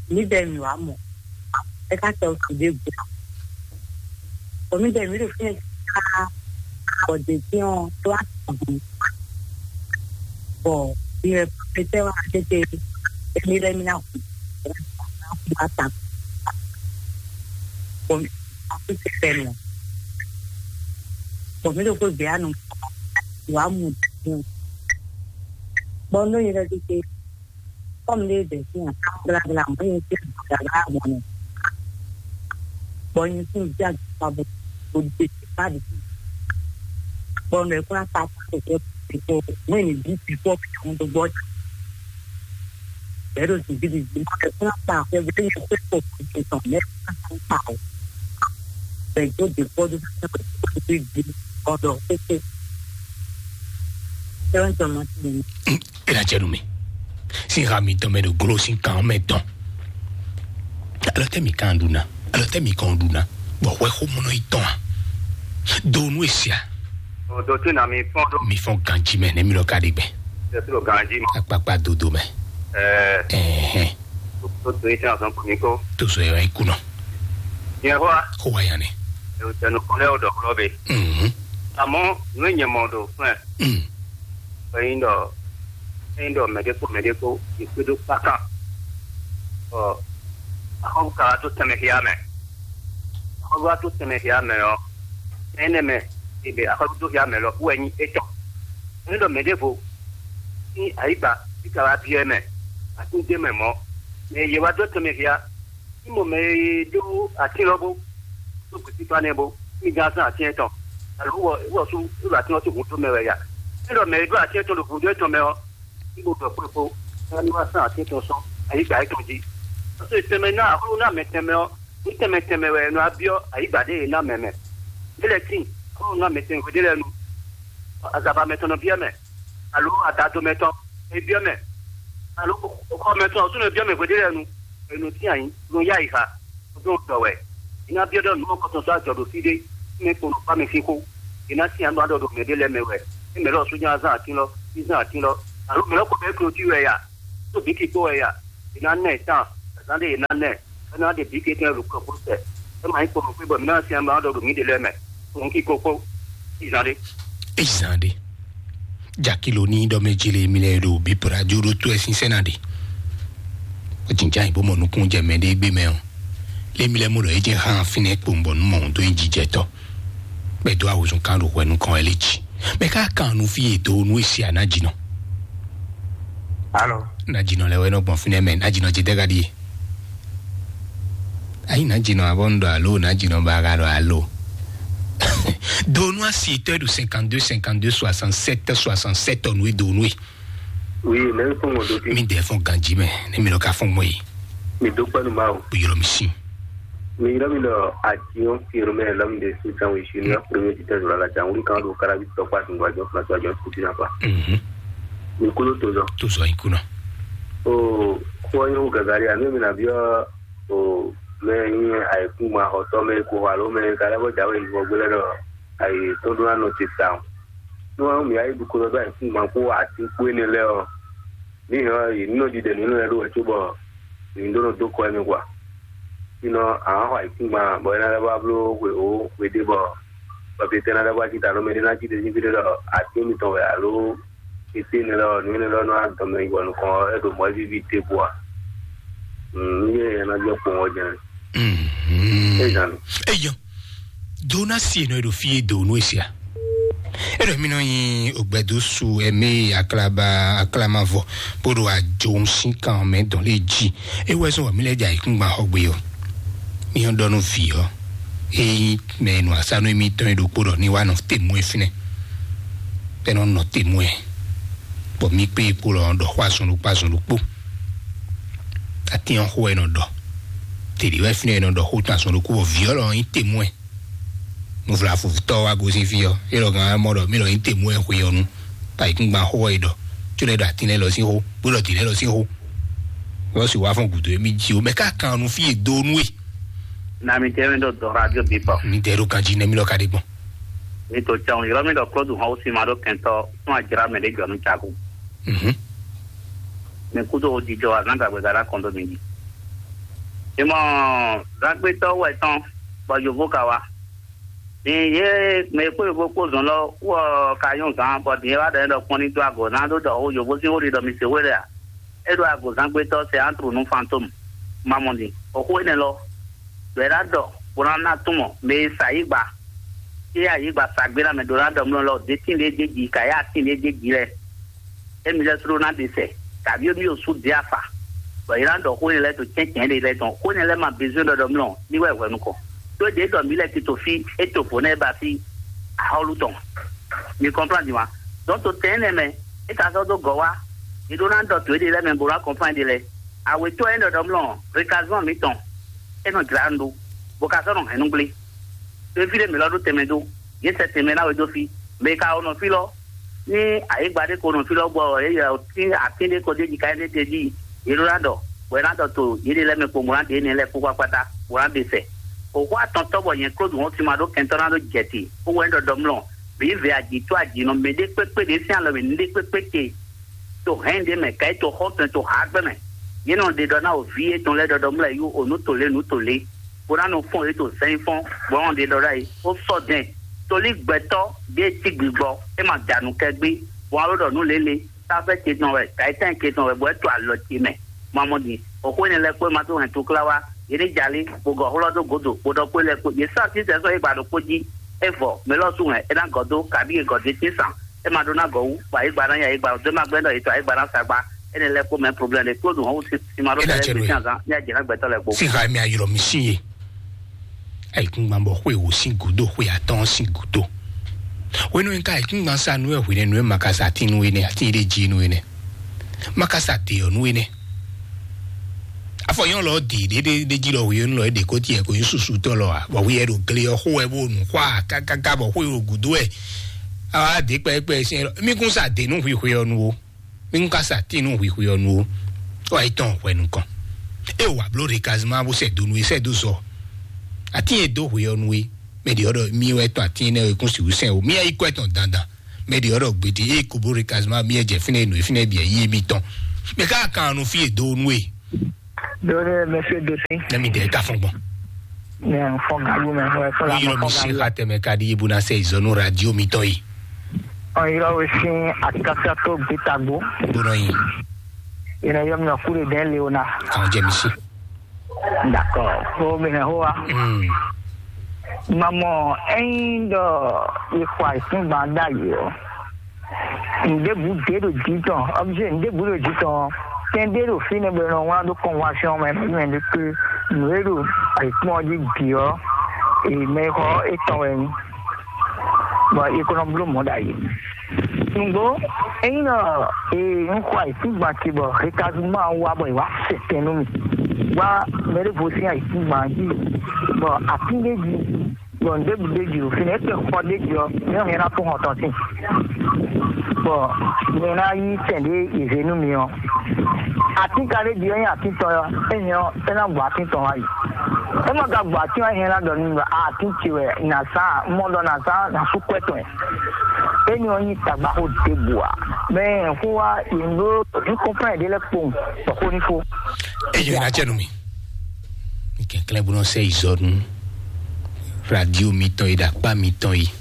Mi bɛ mi wa mɔ. É ká tɛ o tu de gbɔ. Bɔ mi bɛ mi ɖo fínɛ́ ká bɔ dě dín ɔ́ tó wá tɔn. Bɔ mi wɛ pété wá tete émi lɛ́ mi ná hu ná hu ata. Bɔ mi akú ti fɛ nɔ. Bɔ mi ɖo kó gbé anu wá mu dín. Bɔ nɔ yɛ lɛ tete. Kɔmi ɖe bɛ sin akan blablabla mɔ nyi sin blablabla mɔ nɛ. Bɔ nyi sin bi agba bo bo de ba de sin. Bɔ nɔ ekura ta ta ko ko ko mɔ ni bi bi ko ko do gbɔ. Bɛ do sin bi bi bi mɔ ekura ta ko bi ni ko ko ko ko mɛ ta o. Bɛ do de ko do ko ko bi bi ko do ko ko. Sɛbɛn tɔ ma ti. E na jɛ nu mi. Sin ha mi tɔn mɛ ɖo glo sin kan mɛ tɔn. Alɔ tɛ mi kan ɖu na. Alɔ tɛ mi kan ɖu na. Bɔ wɛ xo mɔnɔ yi tɔn a. Do nu esia. Odo tí na mi fɔn do. Mi fɔn ganji mɛ ne mi lɔ ka ɖi gbɛ. Tɛ fi lo ganji mɔ. Akpakpa dodo mɛ. Ɛɛ. Ɛhɛn. To to yi tɛn azɔn kun mi ko. To so yɛ yi kunɔ. Nyɛ hɔ a. Ko wa yan ne. Ewu tɛ nu kɔn lɛ o dɔ kɔlɔ be. Mhm. Amɔ nu nyɛ mɔ do fún ɛ. Mm. Ényí ɖɔ ényí ɖɔ mɛɖé kpó mɛɖé kpó yě kpé ɖó kpákán, bɔ axɔ́sú ka wá dó tɛnmɛ xyá mɛ. Axɔ́sú wá dó tɛnmɛ xyá mɛ ɔ́, énɛ́ mɛ e ɖe axɔ́sú dó xyá mɛ lɔ wú wɛ nyí étɔn. Ényí ɖɔ mɛɖěvo sín ayǐgba bí ka wá byɔ́ ɛ mɛ, atín d'é mɛ mɔ̌, mɛ e yě wá dó tɛnmɛ xyá. Ní mɔ mɛ e ɖó atín lɔ bó, ɖó gǔsífá nɛ́ bó, ní gán zán atín étɔn, alo wɔ wɔ sú ɖo atín ɔ́ sín hǔn dó mɛ wɛ ya. Ní ɖɔ mɛ e ɖó atín étɔn ɖo hǔn dó étɔn mɛ ɔ́, ní bo ɖɔ kpó kpó, ní wá zán atín étɔn sɔ́ ayǐ gbǎ étɔn jí. Ɔ́ sɔ́ tɛnmɛ ná axɔ́ ná mɛ tɛnmɛ ɔ́, ní tɛnmɛ tɛnmɛ wɛ è nɔ wá byɔ́ ayǐ gbǎ ɖé e ná mɛ mɛ. Ɖé lɛ́ɛ tíin, axɔ́ ná mɛ tɛnmɛ hwe ɖé lɛ́ɛ nu, azava mɛ tɔn nɔ byɔ́ mɛ, alo adado mɛ tɔn e byɔ́ mɛ, alo xɔ mɛ tɔn ɔ́ sú nɔ byɔ́ mɛ hwe ɖé lɛ́ɛ nu, è nɔ tín ayǐ, nɔ yá ayǐ xa. Ɖó dɔ wɛ. Iná byɔ́ ɖɔ nǔ mɔkɔtɔn sɔ́ ajɔ ɖo fí ɖé, mɛ kpo nɔ kpá mɛ sín xó. Iná sín anú aɖɔ ɖo mɛ ɖé lɛ́ɛ mɛ wɛ. Ní mɛ lɔ sú nyá zán atín lɔ, ní zán atín lɔ. Alo mɛ lɔ kɔ bɛ klotí wɛ ya, tó bǐ kikpó wɛ ya. Iná nɛ tán. Zan ɖé yě ná nɛ, é ná ɖe bǐ kékun ɖo kɔkó sɛ. É ma nyí kpɔnɔ xwé bɔ mǐ ná syɛ́n ma ɖɔ ɖo mǐ ɖe lɛ́ɛ mɛ. Un kí kókó, izan ɖé. Izan ɖé. Jakilo ní ɖɔ mɛ jí lé mi lɛ ɖo bí pradio ɖó tó ɛ sínsɛ́n ná ɖe. Ó jǐnjá yìí bó mɔ nukún jɛ mɛ ɖé gbé mɛ ɔ́. Lé mi lɛ mɔ ɖɔ é jẹ́ hán fínɛ́ kpowun bɔ nú mɔ òun dó nyi jijɛtɔ́. Bɛ dó awozun kan ɖo hwɛ nukɔn ɛ lé jí. Mɛ ká kan nu fí e dó nú èsì àná jìnà. Alo. Ná jìnà lɛ wɛ nɔ gbɔn fínɛ́ mɛ, ná jìnà jɛ dɛgɛ ɖíe. Ayi ná jìnà abɔ ń ɖɔ alo, ná jìnà ba ka ɖɔ alo. Donu asi tɔ ɖo cinquante-deux cinquante-deux soixante-sept soixante-sept ɔnu e donu e. Oui, ne fún mo do ti. Mi dɛ fún ganji mɛ, ne mi lɔ ka fún mɔ yi. Mi do kpɛnu ma o. Yɔrɔ mi si. Mi yɔrɔ mi lɔ ati o, yɔrɔ mi lɔ mi de su tan wi si ni a premier ti tɛ zɔrɔ la jan wuli kan do karabi tɔ kpa sun gba jɔ fila jɔ kuti na pa. Mhm. Mi kolo to zɔ. To zɔ ikuna. O, ko yo gagari a mi mi na biɔ o mɛ nyi ayikun ma xɔtɔ mɛ ko alo mɛ ka lɛ bɔ jawe yi bɔ gbele dɔ ayi to do na nɔ ti ta o. No wa mi ayi du ko dɔ ayi kun ma ko ati ko ne lɛ o. Mi hɔ yi no di de nu lɛ do wɛ to bɔ mi do no do ko mi kwa. Sinɔ a xɔ ayikun ma bɔ ena lɛ ba blo we o we de bɔ bɔ bi tena lɛ ba ti ta lo mɛ de na ti de ni bi de dɔ ati mi tɔn wɛ alo ete ne lɔ nu ne lɔ no a dɔn mɛ yi bɔ nukɔn e do mɔ e bi bi te ko a. Mm, ye na jɛ kpɔn o jɛ. Mhm. E zan. Eyo. Dona si enɔ eɖo fie do nu esia. Eɖo mi nɔ nyi ogbɛdo su eme aklaba aklamavɔ. Bó ɖo ajo ŋu sín kan mɛ dɔn lé jí. Ewɔ ɛsɔn wɔ mi lɛ dza ikúngban xɔ gbe ɔ. Mi yɔn dɔ nu vi ɔ. Eyi mɛ nu asanu emi tɔn eɖo kpo ɖɔ ni wa nɔ temu efinɛ. Bɛ nɔ nɔ temu ɛ. Bɔ mi kpe kpo lɔ ɖɔ xɔ azɔn ɖokpo azɔn ɖokpo. Atiyan xo ɛ nɔ ɖɔ. Tèɖi wɛ finɛ ɛ nɔ ɖɔ xo tɔn azɔn ɖokpo bɔ vi ɔ lɔ nyi temu ɛ. Nuvlafutɔ wa gosín fí ɔ, é lɔ gán mɔ ɖɔ mí lɔ nyí temú ɛ xwe ɔ nu. Ayikúngban xó ɔ yi ɖɔ, tso lɛ ɖo atin lɛ lɔ sín xó, bó ɖɔ dǐ lɛ lɔ sín xó. Wọ́n sì wá fún gùdó mi jí o mɛ ká kan nu fí e dó nú e. Na mi tẹ́ mi ɖɔ dɔn radio bí pɔ. Mi tẹ́ ɖo kan jí nɛ mi lɔ ka ɖe gbɔn. Mi to tsan yɔrɔ mi ɖɔ klɔdu hɔn si ma ɖo kɛntɔ fún ajra mɛ ɖe jɔ nu caku. Mhm. Mi kudo o jijɔ azan gagbe gada kɔn do mi ji. Imɔ zagbetɔ wɛ tɔn bɔ yovo ka wa. Din ye mɛ e kpó yovo kpó zɔn lɔ wɔ ka nyɔ zan bɔ din e wa ɖɔ ɖɔ kpɔn ní dó agɔ ná ɖó ɖɔ o yovo sín wó ɖi ɖɔ mi se wé lɛ a? É ɖo agɔzángbétɔ́ sɛ antru nú fantôme. Mamɔdi, òxó énɛ́ lɔ, ɖɔ é ná ɖɔ bó ná ná tún mɔ mɛ e sa yí gba. É yá yí gba sa gbé ná mɛ ɖó ná ɖɔ mlɔ lɔ ɖé tín ɖé dé ji ka yá tín ɖé dé ji lɛ. Émi lɛ́ sú ɖó ná ɖe sɛ, kaví émi ɖo sú ɖe afa, bɔ yě ná ɖɔ xó énɛ́ lɛ́ɛ to cɛ́ncɛ́n ɖé lɛ́ɛ tɔn. Xó énɛ́ lɛ́ɛ ma bezwɛ́n ɖɔ ɖɔ mlɔ ní wɛ hwɛ̌nu kɔ. Tó ɖě ɖɔ mǐ lɛ tito fí é to vo nɛ́ ba fí axɔ́lú tɔn. Mi kɔnplán din wa. Dɔn to tɛn énɛ́ mɛ, é ka sɔ́ dó gɔ̌ wá. Yě ɖó ná ɖɔ to éɖée lɛ́ɛ mɛ bó ná kɔnplán ɖe lɛ́ɛ. Awětɔ́ e ɖɔ ɖɔ mlɔ rékazɔn mǐtɔn, é nɔ jlá nǔ ɖó, bó ka sɔ́ nɔ hɛn nú gblé. Fífí ɖé mǐ lɔ ɖó tɛnmɛ dó, yě sɛ tɛnmɛ ná we dó fí. Mɛ e ka wɔ nɔ fí lɔ, ní ayǐgba ɖé ko nɔ fí lɔ gbɔ ɔ, yě yɔ tín atín ɖé ko ɖ'é jí ka énɛ́ tɛjí, yě ɖó ná ɖɔ, bɔ é ná ɖɔ to yěɖée lɛ́ɛ mɛ kpowun bó ná ɖe énɛ́ lɛ́ɛ kpó kpákpátá, bó ná ɖe sɛ. Òxó atɔntɔ́ bɔ nyɛ Klódu hɔn sin ma ɖó kɛntɔ́ ná ɖó jɛ te, bó wɛ ɖɔ ɖɔ mlɔ, bǐ vɛ ajǐ tó ajǐ nɔ mɛ ɖé kpékpé ɖě sín alɔ mɛ ní ɖé kpékpé te. To hɛn ɖé mɛ ka yi to xɔtɔn to ha gbɛ mɛ. Yě nɔ ɖe ɖɔ ná o vi yětɔn lɛ́ɛ ɖɔɖɔ mlɔ yú o nǔ to lě nǔ to lě, bó ná nɔ fɔn yě to sɛn fɔn, bó nɔ ɖe ɖɔ ɖ'ayǐ ó sɔ́ dɛn. Tolí gbɛtɔ́ ɖě cí gbigbɔ, é ma da nǔ kɛ gbé, bó ná ɖɔ nǔ lě lě, táfɛ ce tɔn wɛ, ka yi tɛn ce tɔn wɛ, bó wɛ to alɔ ce mɛ. Mamɔ ɖi, òxó énɛ́ lɛ́ɛ kpó ma tó hɛn tukla wá, yě ní jalí, bó gɔ xlɔ́ dó gǒdo, bó ɖɔ kpó lɛ́ɛ kpó, yě sɔ́ así sɛ́ sɔ́ é gba ɖo kpó jí, é vɔ, mɛ lɔ sú hɛn, é ná gɔ̌ dó, kabí è gɔ̌ dó tín sàn. É ma ɖó ná gɔ̌ wú, bɔ ayǐgba ná nya ayǐgba, ɖó ma gbɛ́ ɖɔ yě tɔ ayǐgba ná sa gba. Énɛ́ lɛ́ɛ kpó mɛ problème ɖé kpó ɖo hɔn wú sí ma ɖó Énɛ́ bɛlɛ cɛ gbé nú sín azán ní ajě ná gbɛtɔ́ lɛ́ɛ kpó. Sín ha mɛ ayɔlɔ mi sín ye. Ayikúngban bɔ xwé wò sín gúdo, xwé atɔ́ɔ́n sín gúdo. Hwenu e ka ayikúngban sa nú ɛ hwenɛ́nu e ma ka sa tín nú énɛ́, atín ɖé jí nú énɛ́. Ma ka sa dě ɔ́ nú énɛ́. Afɔ nyɔ́ lɔ dě ɖé ɖé ɖé jí lɔ hweyɔ́nú lɔ é ɖě kó tiɛ kó nyí susutɔ́ lɔ ǎ, bɔ hwi ɛ ɖo gle ɔ́ xó wɛ bó nu xwá kákáká bɔ xwé ɖo gǔdo wɛ. Awa dě kpɛkpɛ sɛn lɔ, mí kún sa dě nú hwixwe ɔ́ nu ó. Mí kún ka sa tín nú hwixwe ɔ́ nu ó. Wá yi tɔn hwɛ nukɔn. É wǎ bló ɖe kazima bó sɛ dó nu é sɛ dó zɔ. Atín e dó hwe ɔ́ nu é. Mɛ ɖě ɔ́ ɖɔ mí wɛ tɔn atín énɛ́ é kún sixú sɛn ó. Mí yɛ yi kɔ ɛ tɔn dandan. Mɛ ɖě ɔ́ ɖɔ gbedi é ko bló ɖe kazima mí yɛ jɛ fínɛ́ nǔ e fínɛ́ bǐ yí mítɔn. Mɛ ká kan nu fí e dó nu é. Dole, monsieur Doté. Nɛ mi dɛ ka fɔn gbɔn. Mɛ fɔn galu mɛ fɔn fɔn la Yɔrɔ mi fɔn si galu. Xa tɛmɛ ka di ibu na sɛ izɔnu radio mi tɔ yi. Ɔn yɔrɔ wo sin akasa to gbitagbo. Gbɔnɔ yi. Yɛrɛ yɔ mi kure dɛ leona. Kan jɛ mi si. D'accord. Ko mi hɛ hoa. Mm. Mamɔ, ɛyin dɔ ikwa isin gbanda yi o. Ndebu de ɖo jitɔn, objet ndebu ɖo jitɔn. Tɛn ɖe ɖo fínɛ́ bɔ nɔ wlán ɖó convention mɛ mɛ ɖe pé nǔ e ɖo ayǐkúngban ɔ́ jí bǐ ɔ́, mɛ e xɔ étɔn wɛ nyí, bɔ é ko nɔ bló mɔ̌ ɖ'ayǐ. Nǔgbó, ényí nɔ ee un xɔ ayǐkúngban ce bɔ hekazuma ɔ́ wá bɔ è wá sɛ tɛn nú mì, wá mɛ ɖěvo sín ayǐkúngban jí, bɔ atín ɖé jí, bɔ nǔ ɖěbǔ ɖé jí ɖo fínɛ́, é kpɛn xɔ ɖé jí ɔ́, nyɛ hɛn ná fún hɔn tɔn sín, bɔ nyɛ ná yí sɛn ɖé è zě nú mi ɔ́, atín ka ɖé jí ɔ́ nyí atín tɔn ɔ́, é nyɛ ɔ́, é ná gbɔ atín tɔn wá yi. É ma ka gbɔ atín ɔ́, é hɛn ná ɖɔ nú mi ɖɔ atín ce wɛ nǎ sá, mɔ ɖɔ nǎ sá nǎ sú kwɛ́ tɔn. Éni ɔ́ nyí tagbaxó ɖěbǔ ǎ. Mɛ xó wá yě ɖó ní kɔnflán ɖé lɛ́ɛ kpowun bɔ xó ní fó. Eyo ina jɛ nu mi. Mi kɛnklɛn bó nɔ sɛ izɔ nu. Radio mi tɔn yi ɖo akpá mi tɔn yi.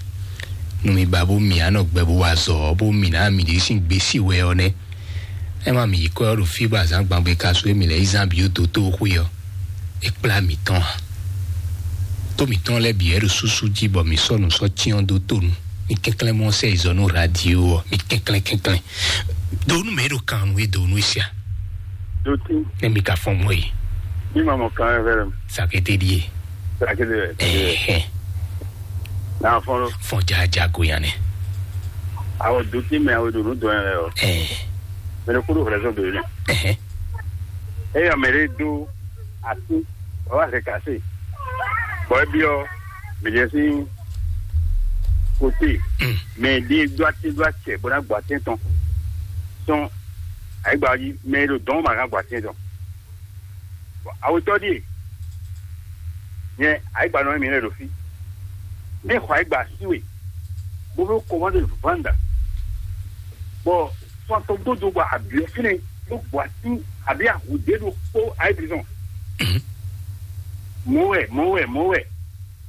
Nu mi ba bó mi anɔ gbɛ bó wa zɔ bó mi ná mi ɖi sín gbèsè wɛ ɔ nɛ. Ɛ ma mi yi kɔ ɖo fí bó azán gbangbe ka su emi lɛ izán bi ó dó tó xwé ɔ. E kplá mi tɔn a. Tó mǐtɔn lɛ́ɛ bǐ wɛ ɖo súsú jí bɔ mǐ sɔ́ nǔ sɔ́ cyɔ́n dó to nu. Mi kɛnklɛ́n mɔ sɛ izɔ nú radio ɔ́, mi kɛnklɛ́n kɛnklɛ́n. Do nú mɛ e ɖo kan nú e do nú e sia. Dotí. Ne mi ka fɔn mɔ e. Bí ma mɔ kan ɛ fẹ́ rẹ. Sakete ɖie. Sakete rẹ. Ɛhɛn. N'a fɔn lo. Fɔn jaja go yan nɛ. Awɔ dotí mɛ awɔ ɖo nú dɔn yɛ lɛ ɔ. Ɛhɛn. Mɛ ne kúrò fɛlɛ sɔ do yɛ. Ɛhɛn. Eya mɛ ɖe do asi, bɔ wá hɛn kase. Bɔ ebi ɔ, mɛ ɖe sín kote, mɛ ɖe do ati do acɛ bɔ na gbɔ ati tɔn. Sɔn ayigba ɔ́ jí, mɛ e ɖo dɔn ma hɛn gbɔ ati tɔn. Bɔ awetɔ ɖie, nyɛ ayigba nɔ mi lɛ ɖo fi. Ne xɔ ayigba si we, bó fɛ kɔmande vanda. Bɔ fɔntɔn gbɔdɔ bɔ abiɔ fínɛ bó gbɔ ati abi ahu ɖe ɖo kpó ayébísɔn. Mɔwɛ, mɔwɛ, mɔwɛ.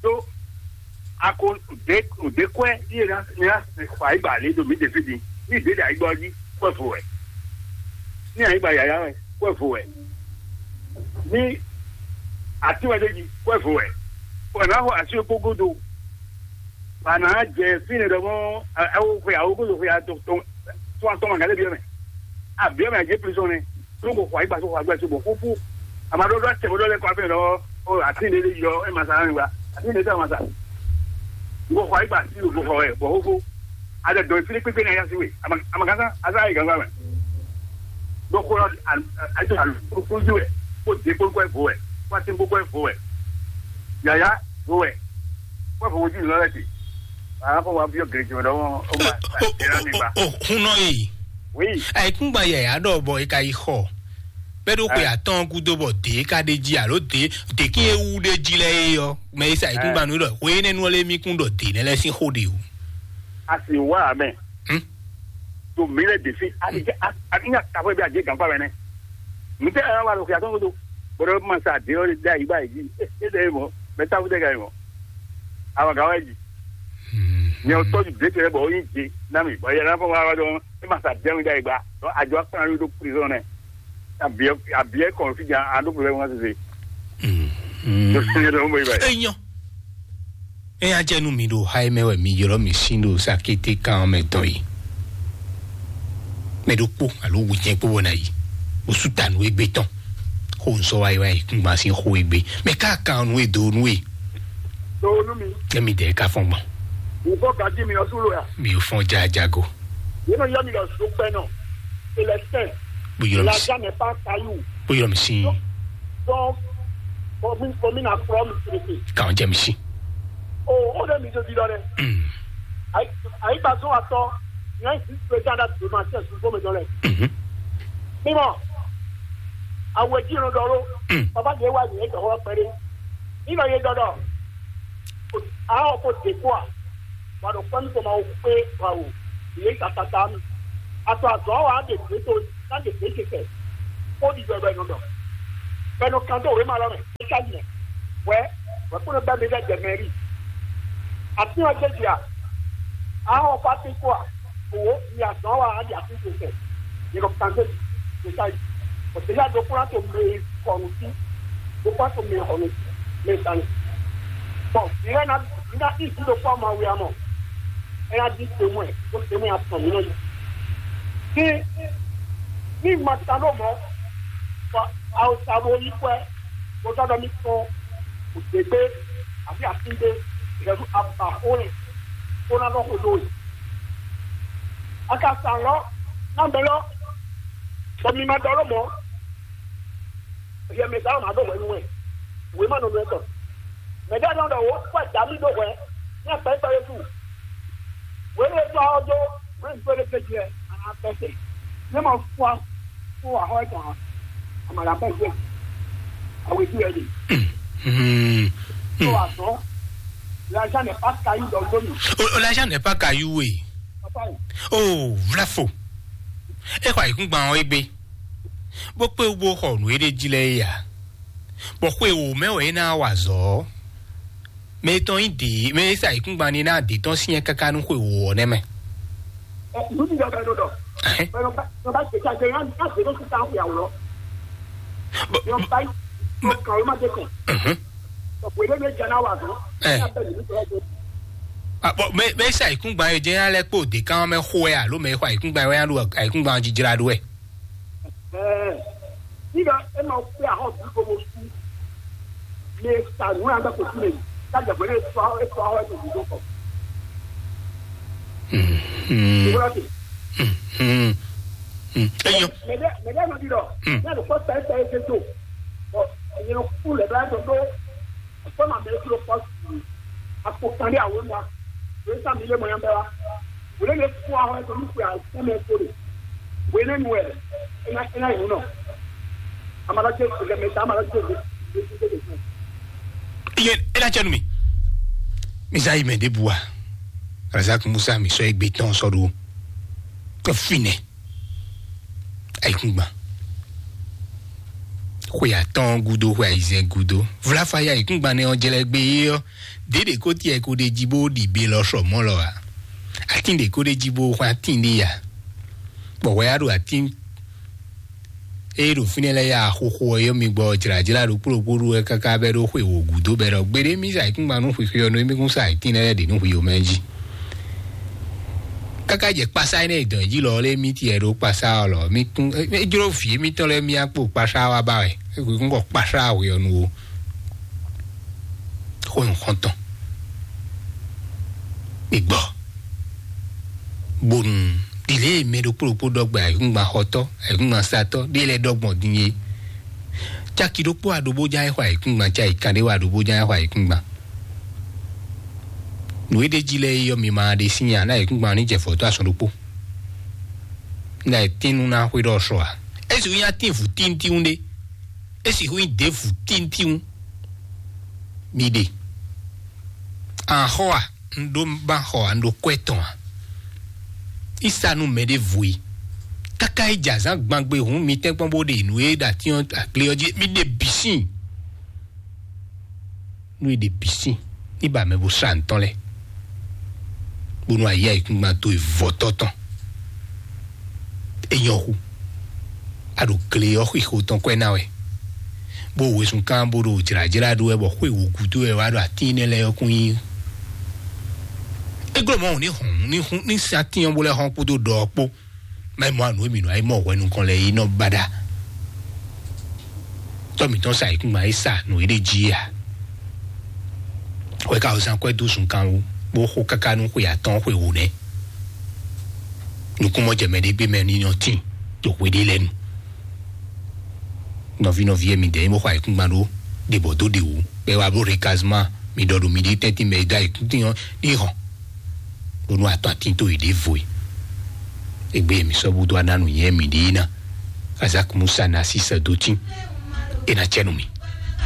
Tó ako ɖe ɖe kɔɛ yé na na xɔ ayigba lé ɖo mi ɖe fi di. Ní ɖe ɖe ayigba jí kɔɛ fo wɛ. Ní ayigba yaya wɛ kɔɛ fo wɛ. Ní ati wɛ ɖe jí kɔɛ fo wɛ. Kɔɛ na xɔ asi kpó godo. Bana jɛ fine ɖɔ mɔ awo xwe awo godo xwe atɔ tɔn tɔn atɔn ma gale biɔ mɛ. Abiɔ mɛ adze prison nɛ. Tó ko xɔ ayigba tó xɔ agba tó bɔ fúfú. Ama ɖɔ ɖɔ tɛ ɖɔ lɛ kɔ afɛ ɖɔ o ati ne ɖe yɔ e ma sa nani gba. Ati ne ɖe ma sa. Ko xɔ ayigba ti ko xɔ ɛ bɔ fúfú. Adɛ dɔn fine kpekpe na ya si we. Ama ama kan sa asa ayi gangba mɛ. Ɖo xó ɔ́ ayi to alu kúkú jí wɛ, kó de kpókpó vo wɛ, kó atín kpókpó vo wɛ, yǎyá vo wɛ, kó vo jí nǔ lɛ́ ti. Àwọn afọ wa bí ọ̀gẹ̀rẹ̀ jùlọ lọ́wọ́ ó máa ṣàṣẹ lámì gbà. Hun nɔ yi. Oui. Àìkúngba yẹ̀yà ɖɔ bɔ e ka yi xɔ. Bẹ́ẹ̀ ló pe àtọ́n gúdó bọ̀ dé ká dé jí àló dé dé kí ewu dé jí lɛ yé yɔ. Mɛ e sa àìkúngba nú ɖɔ wé nínú ɔlẹ́ mí kún ɖɔ dé nɛ lɛ sín xó ɖe o. A sì wá àmẹ́. Hmm? To mí lɛ dé fi. A ti jẹ́ a ti nya tafɔ bi a jẹ́ gànfà mɛ nɛ. Ŋutɛ ɛ wa lo xia tɔn kodo. Bɔdɔ ma sa de ɔ da yi ba yi. E de mɔ. Mɛ ta fu de ka yi mɔ. Awa ga wa yi. Nyɛ o tɔju de tɛ bɔ o yi je na mi. Bɔ yɛ na fɔ wa wa dɔn. E ma sa de mi da yi gba. Dɔn a jɔ akpa na mi do prison nɛ. A biɛ a biɛ kɔn fi jan a do problème wa sese. Do sɛ dɔn mo yi ba. Enyɔ. Eya jɛ nu mi ɖo ha e mɛ wɛ mi ylɔ mi sin ɖo sakete kan mɛ dɔn yi. Mɛ ɖokpó alo wujɛ kpó bɔ na yi. Osu ta nu egbe tɔn. Xo nsɔ wa yi wa yi kungba sin xo egbe. Mɛ ka kan nu e do nu e. Do nu mi. Emi dɛ ka fɔn gbɔn. Wò bɔ gaji mi ɔsu lo ya. Mi ò fɔn jajago. Yéno yɔ mi lɔ so pɛ nɔ. Célestin. Bó yɔ mi La sí. Jamais pas caillou. Bó yɔ mi sí. Donc, commune, commune à trois mille traités. Quand j'aime si. Oh, on a mis de vidéo. Ayi ayi gba zɔn atɔ nyɛ si président da doma sɛ sunfo mi dɔlɛ. Mímɔ awɛ dzi nɔ dɔ lo. Papa de wa nyɛ dɔ wɔ pɛrɛ. Ina ye dɔ dɔ. Awo ko de ko a. Wa dɔ kpɛn ko ma wo kpe wa wo. Ye ka tata mi. Atɔ azɔ wa de de to na de de ke kɛ. Ko di dɔ dɔ nɔ dɔ. Bɔ è nɔ kan dó wěma lɔ mɛ, é ka yi mɛ. Wɛ, wɛ kpódó bɛ́ mi lɛ́ɛ jɛ mɛ rí. Atín ɔ́ jɛ jí a? Ahɔn ɔ́ kpá tín kpó a? Òwò mi azɔn wa á ɖi atín tó sɛ. Yě nɔ kan dó jí, é ka yi. Bɔ dèjà ɖokpó ná to mɛ e xɔ nǔ sí. Ɖokpó ná to mɛ e xɔ nǔ sí. Mɛ e sa nyi. Bɔn vǐ lɛ́ɛ ná vǐ ná sí vǐ ɖokpó ama wi amɔ. É ná ɖi tomɛ, bó tomɛ atɔn mǐ nɔ yi. Ní ní ma ta ɖó mɔ̌, bɔ awusa bo yí kwɛ, bó zɔ́ ɖɔ mì tɔn, wǔdégbé, àbí asígbé, ìrẹ̀lú abǎxó lɛ, bó ná nɔ xo dó we. A ka sa lɔ, ná mɛ lɔ, bɔ mi ma ɖɔ ló mɔ̌, hiɛ mɛ sa lɔ ma ɖó hwɛ nú wɛ, wě ma nɔ nú ɛ tɔn. Mɛ ɖé nɔ ɖɔ wǒ kpɔ dǎ mì ɖó hwɛ, ní akpɛ́kpɛ́ yé su. Wěle tɔ́ ɔ́ dó wěle gbé ɖé gbé jɛ, a nǎ bɛ́ se. Ní ma fún a fún ahɔ́ ɛ tɔn a, a ma ɖo abɛ́ gbé. Awe dú ɛ ɖe. Hmm. Tó azɔn, l'argent n'est pas caillou dans le dos. Oh, l'argent n'est pas caillou, oui. Papa yi. Oh, vlafo. E xɔ ayǐkúngban ɔ́ égbé. Bó kpé wú bó xɔ nǔ e ɖ'é jí lɛ́ɛ é ǎ. Bɔ xwe wǒ mɛ wɛ é ná wa azɔ̌ ɔ́. Mɛ tɔn nyí dě, mɛ e sa ayǐkúngban ní ná dě tɔn syɛ́n káká nú xwe wǒ ɔ́ nɛ́ mɛ. Ɛ, nǔ ti ɖɔ bɛ ɖo ɖɔ. Ɛhɛn. Bɛ nɔ ba nɔ ba tɛ tsa jɛ yɔn yɔn tɛ ɖo sisan xwe awlɔ. Bɔ- Yɔn ba yi. Yɔn kan o ma de kɛ. Mhm. Bɔ xwe ɖe ne jɛ na wa zɔn. Ɛ. N'a bɛ nǔ tɔ do. Ah, bɔ mɛ mɛ sa ayǐkúngban yɛ jɛ ya lɛ kpó dě kan mɛ xo ɛ alo mɛ xɔ ayǐkúngban yɛ ya ɖo ayǐkúngban jijra ɖo ɛ. Ɛɛ, nígbà ẹ máa pé àhọ́ bí kò mo sú. Lè sànú àgbà kò sí lè ká jẹ pé lè sọ ẹ sọ ẹ tó dúró kọ. Mhm. Ìwúrọ̀ tè. Mhm. Mhm. Eyín. Mẹ̀dẹ́ mẹ̀dẹ́ ló di lọ. Hmm. Ní àlùkò sẹ́yìn sẹ́yìn ṣe tó. Ọ̀ ẹ̀yìn kú lẹ̀ bá tó tó. Fɔ́nà mɛ kúrò pɔ́sì. Akpo kan ɖé àwọn ŋa. Wòye sá mi lé mɔ yɛn bɛ wa. Wòle lè fún àwọn ẹ̀tọ́ ní kúrò àìsàn mɛ kó lè. Wòye lè nu ẹ̀. Ẹ ná ẹ ná yìí nù nọ. Amalajɛ ìgbẹ́mẹ̀ta amalajɛ ìgbẹ́. Iye ela cɛ nu mi. Misa yi mɛ de bua. Razak Musa mi sɔ egbe tɔn sɔ do. Kɛ finɛ. Ayikungban. Xwe atɔ́ɔ́n gúdo, xwe ayizɛ́n gúdo. Vlafa ya ayikungban nɛ ɔ́ jlɛ́ gbé é ɔ́, dě ɖě ko tiɛ ko ɖ'é jí bó ɖi be lɔ sɔ mɔ̌ lɔ ǎ. Atín ɖě ko ɖ'é jí bó xwán atín ɖé ya. Bɔ hwɛ ya ɖo atín ée ɖo fínɛ́ lɛ́ɛ ya xoxo ɔ́ yɔ́ mi gbɔ jlǎjlá ɖokpó ɖokpó ɖu wɛ káká bɛ́ ɖó xwe wǒ gúdo bɛ́ ɖɔ gbeɖé mì sa ayikúngban nú xwixwe ɔ́ nú émí kún sa atín lɛ́ɛ ɖě nú hwi omɛ jí. Káká jɛ kpasá énɛ́ e dɔn jí lɔ lé mì tiɛ ɖó kpasá ɔ́ lɔ mì kún é jló vǐ émítɔn lɛ́ɛ mì akpo kpasá wa ba wɛ é kún kɔ kpasá hwe ɔ́ nu ó. Xó nǔxɔ́ntɔn. Mi gbɔ. Bonu ɖile mɛ ɖokpó ɖokpó ɖɔ gbɛ ayǐkúngban xɔtɔ́, ayǐkúngban satɔ́ ɖé lɛ́ɛ ɖɔ gbɔn din é. Caki ɖokpó aɖobó ján é xɔ ayǐkúngban, caki kan ɖé wá aɖobó ján é xɔ ayǐkúngban. Nǔ e ɖ'é jí lɛ́ɛ é yɔ́ mi ma ɖe sín nya ná ayǐkúngban ní jɛ fɔ̌tɔ́ asɔn ɖokpó. Ná e tín nú ná xwé ɖɔ sɔ ǎ. É sixú nyí atín vǔ tíntín ɖé. É sixú nyí ɖěvǔ tíntín. Mi ɖe. An xɔ a? Un ɖó ba xɔ a? Un ɖó kwɛ tɔn a? Isa nú mɛ ɖěvo e. Káká é jɛ azǎn gbangbe hǔn mi tɛ́nkpɔ́n bó ɖe nǔ e ɖo atín ɔ́ agle ɔ́ jí. Mi ɖe bǐ sín. Nú e ɖe bǐ sín. Ní ba mɛ bó sa ntɔ́n lɛ́ɛ. Bónú ayǐ ayǐkúngban towe vɔ̌tɔ́ tɔn. É nyɔ́ xú. A ɖo gle ɔ́ xixo tɔn kwɛ́ ná wɛ. Bó wezun kán bó ɖo jlǎjlá ɖó wɛ bɔ xwé wǔ gúdo wɛ wá ɖo atín énɛ́ lɛ́ɛ ɔ́ kún nyí. É glɔ́ mɔ̌ ní hɔn ní hún ní sin atín ɔ́ bó lɛ́ hɔn kpódó ɖɔ ɔ́ kpó. Má yi mɔ anu e mǐ nɔ yi mɔ hwɛ nukɔn lɛ yi nɔ baɖa. Tɔ́ mǐtɔn sa ayǐkúngban e sa nǔ e ɖ'é jí a? Hwɛ ka zán kwɛ́ dó zunkan wú, bó xo káká nú xwe atɔ́ɔ́n xwe wǒ nɛ́. Nukúnmɔjɛmɛ ɖé gbé mɛ ní nɔ tín ɖo hwe ɖé lɛ́ɛ nu. Nɔví nɔví e mi dɛ nyí bó xɔ ayǐkúngban ɖó ɖe bɔ dó ɖe wǔ, bɔ é wá bló rekazman mi ɖɔ ɖo miɖée tɛ́ntin mɛ e dó ayǐkúngban ɔ́ ní hɔn. Bónú atɔ́ atín tó yě ɖěvo e. Égbé mi sɔ́ búdó aná nǔnywɛ́ miɖée ná. Kazak Musa ná sí sɛ́ dó tín. É ná cɛ́ nú mi.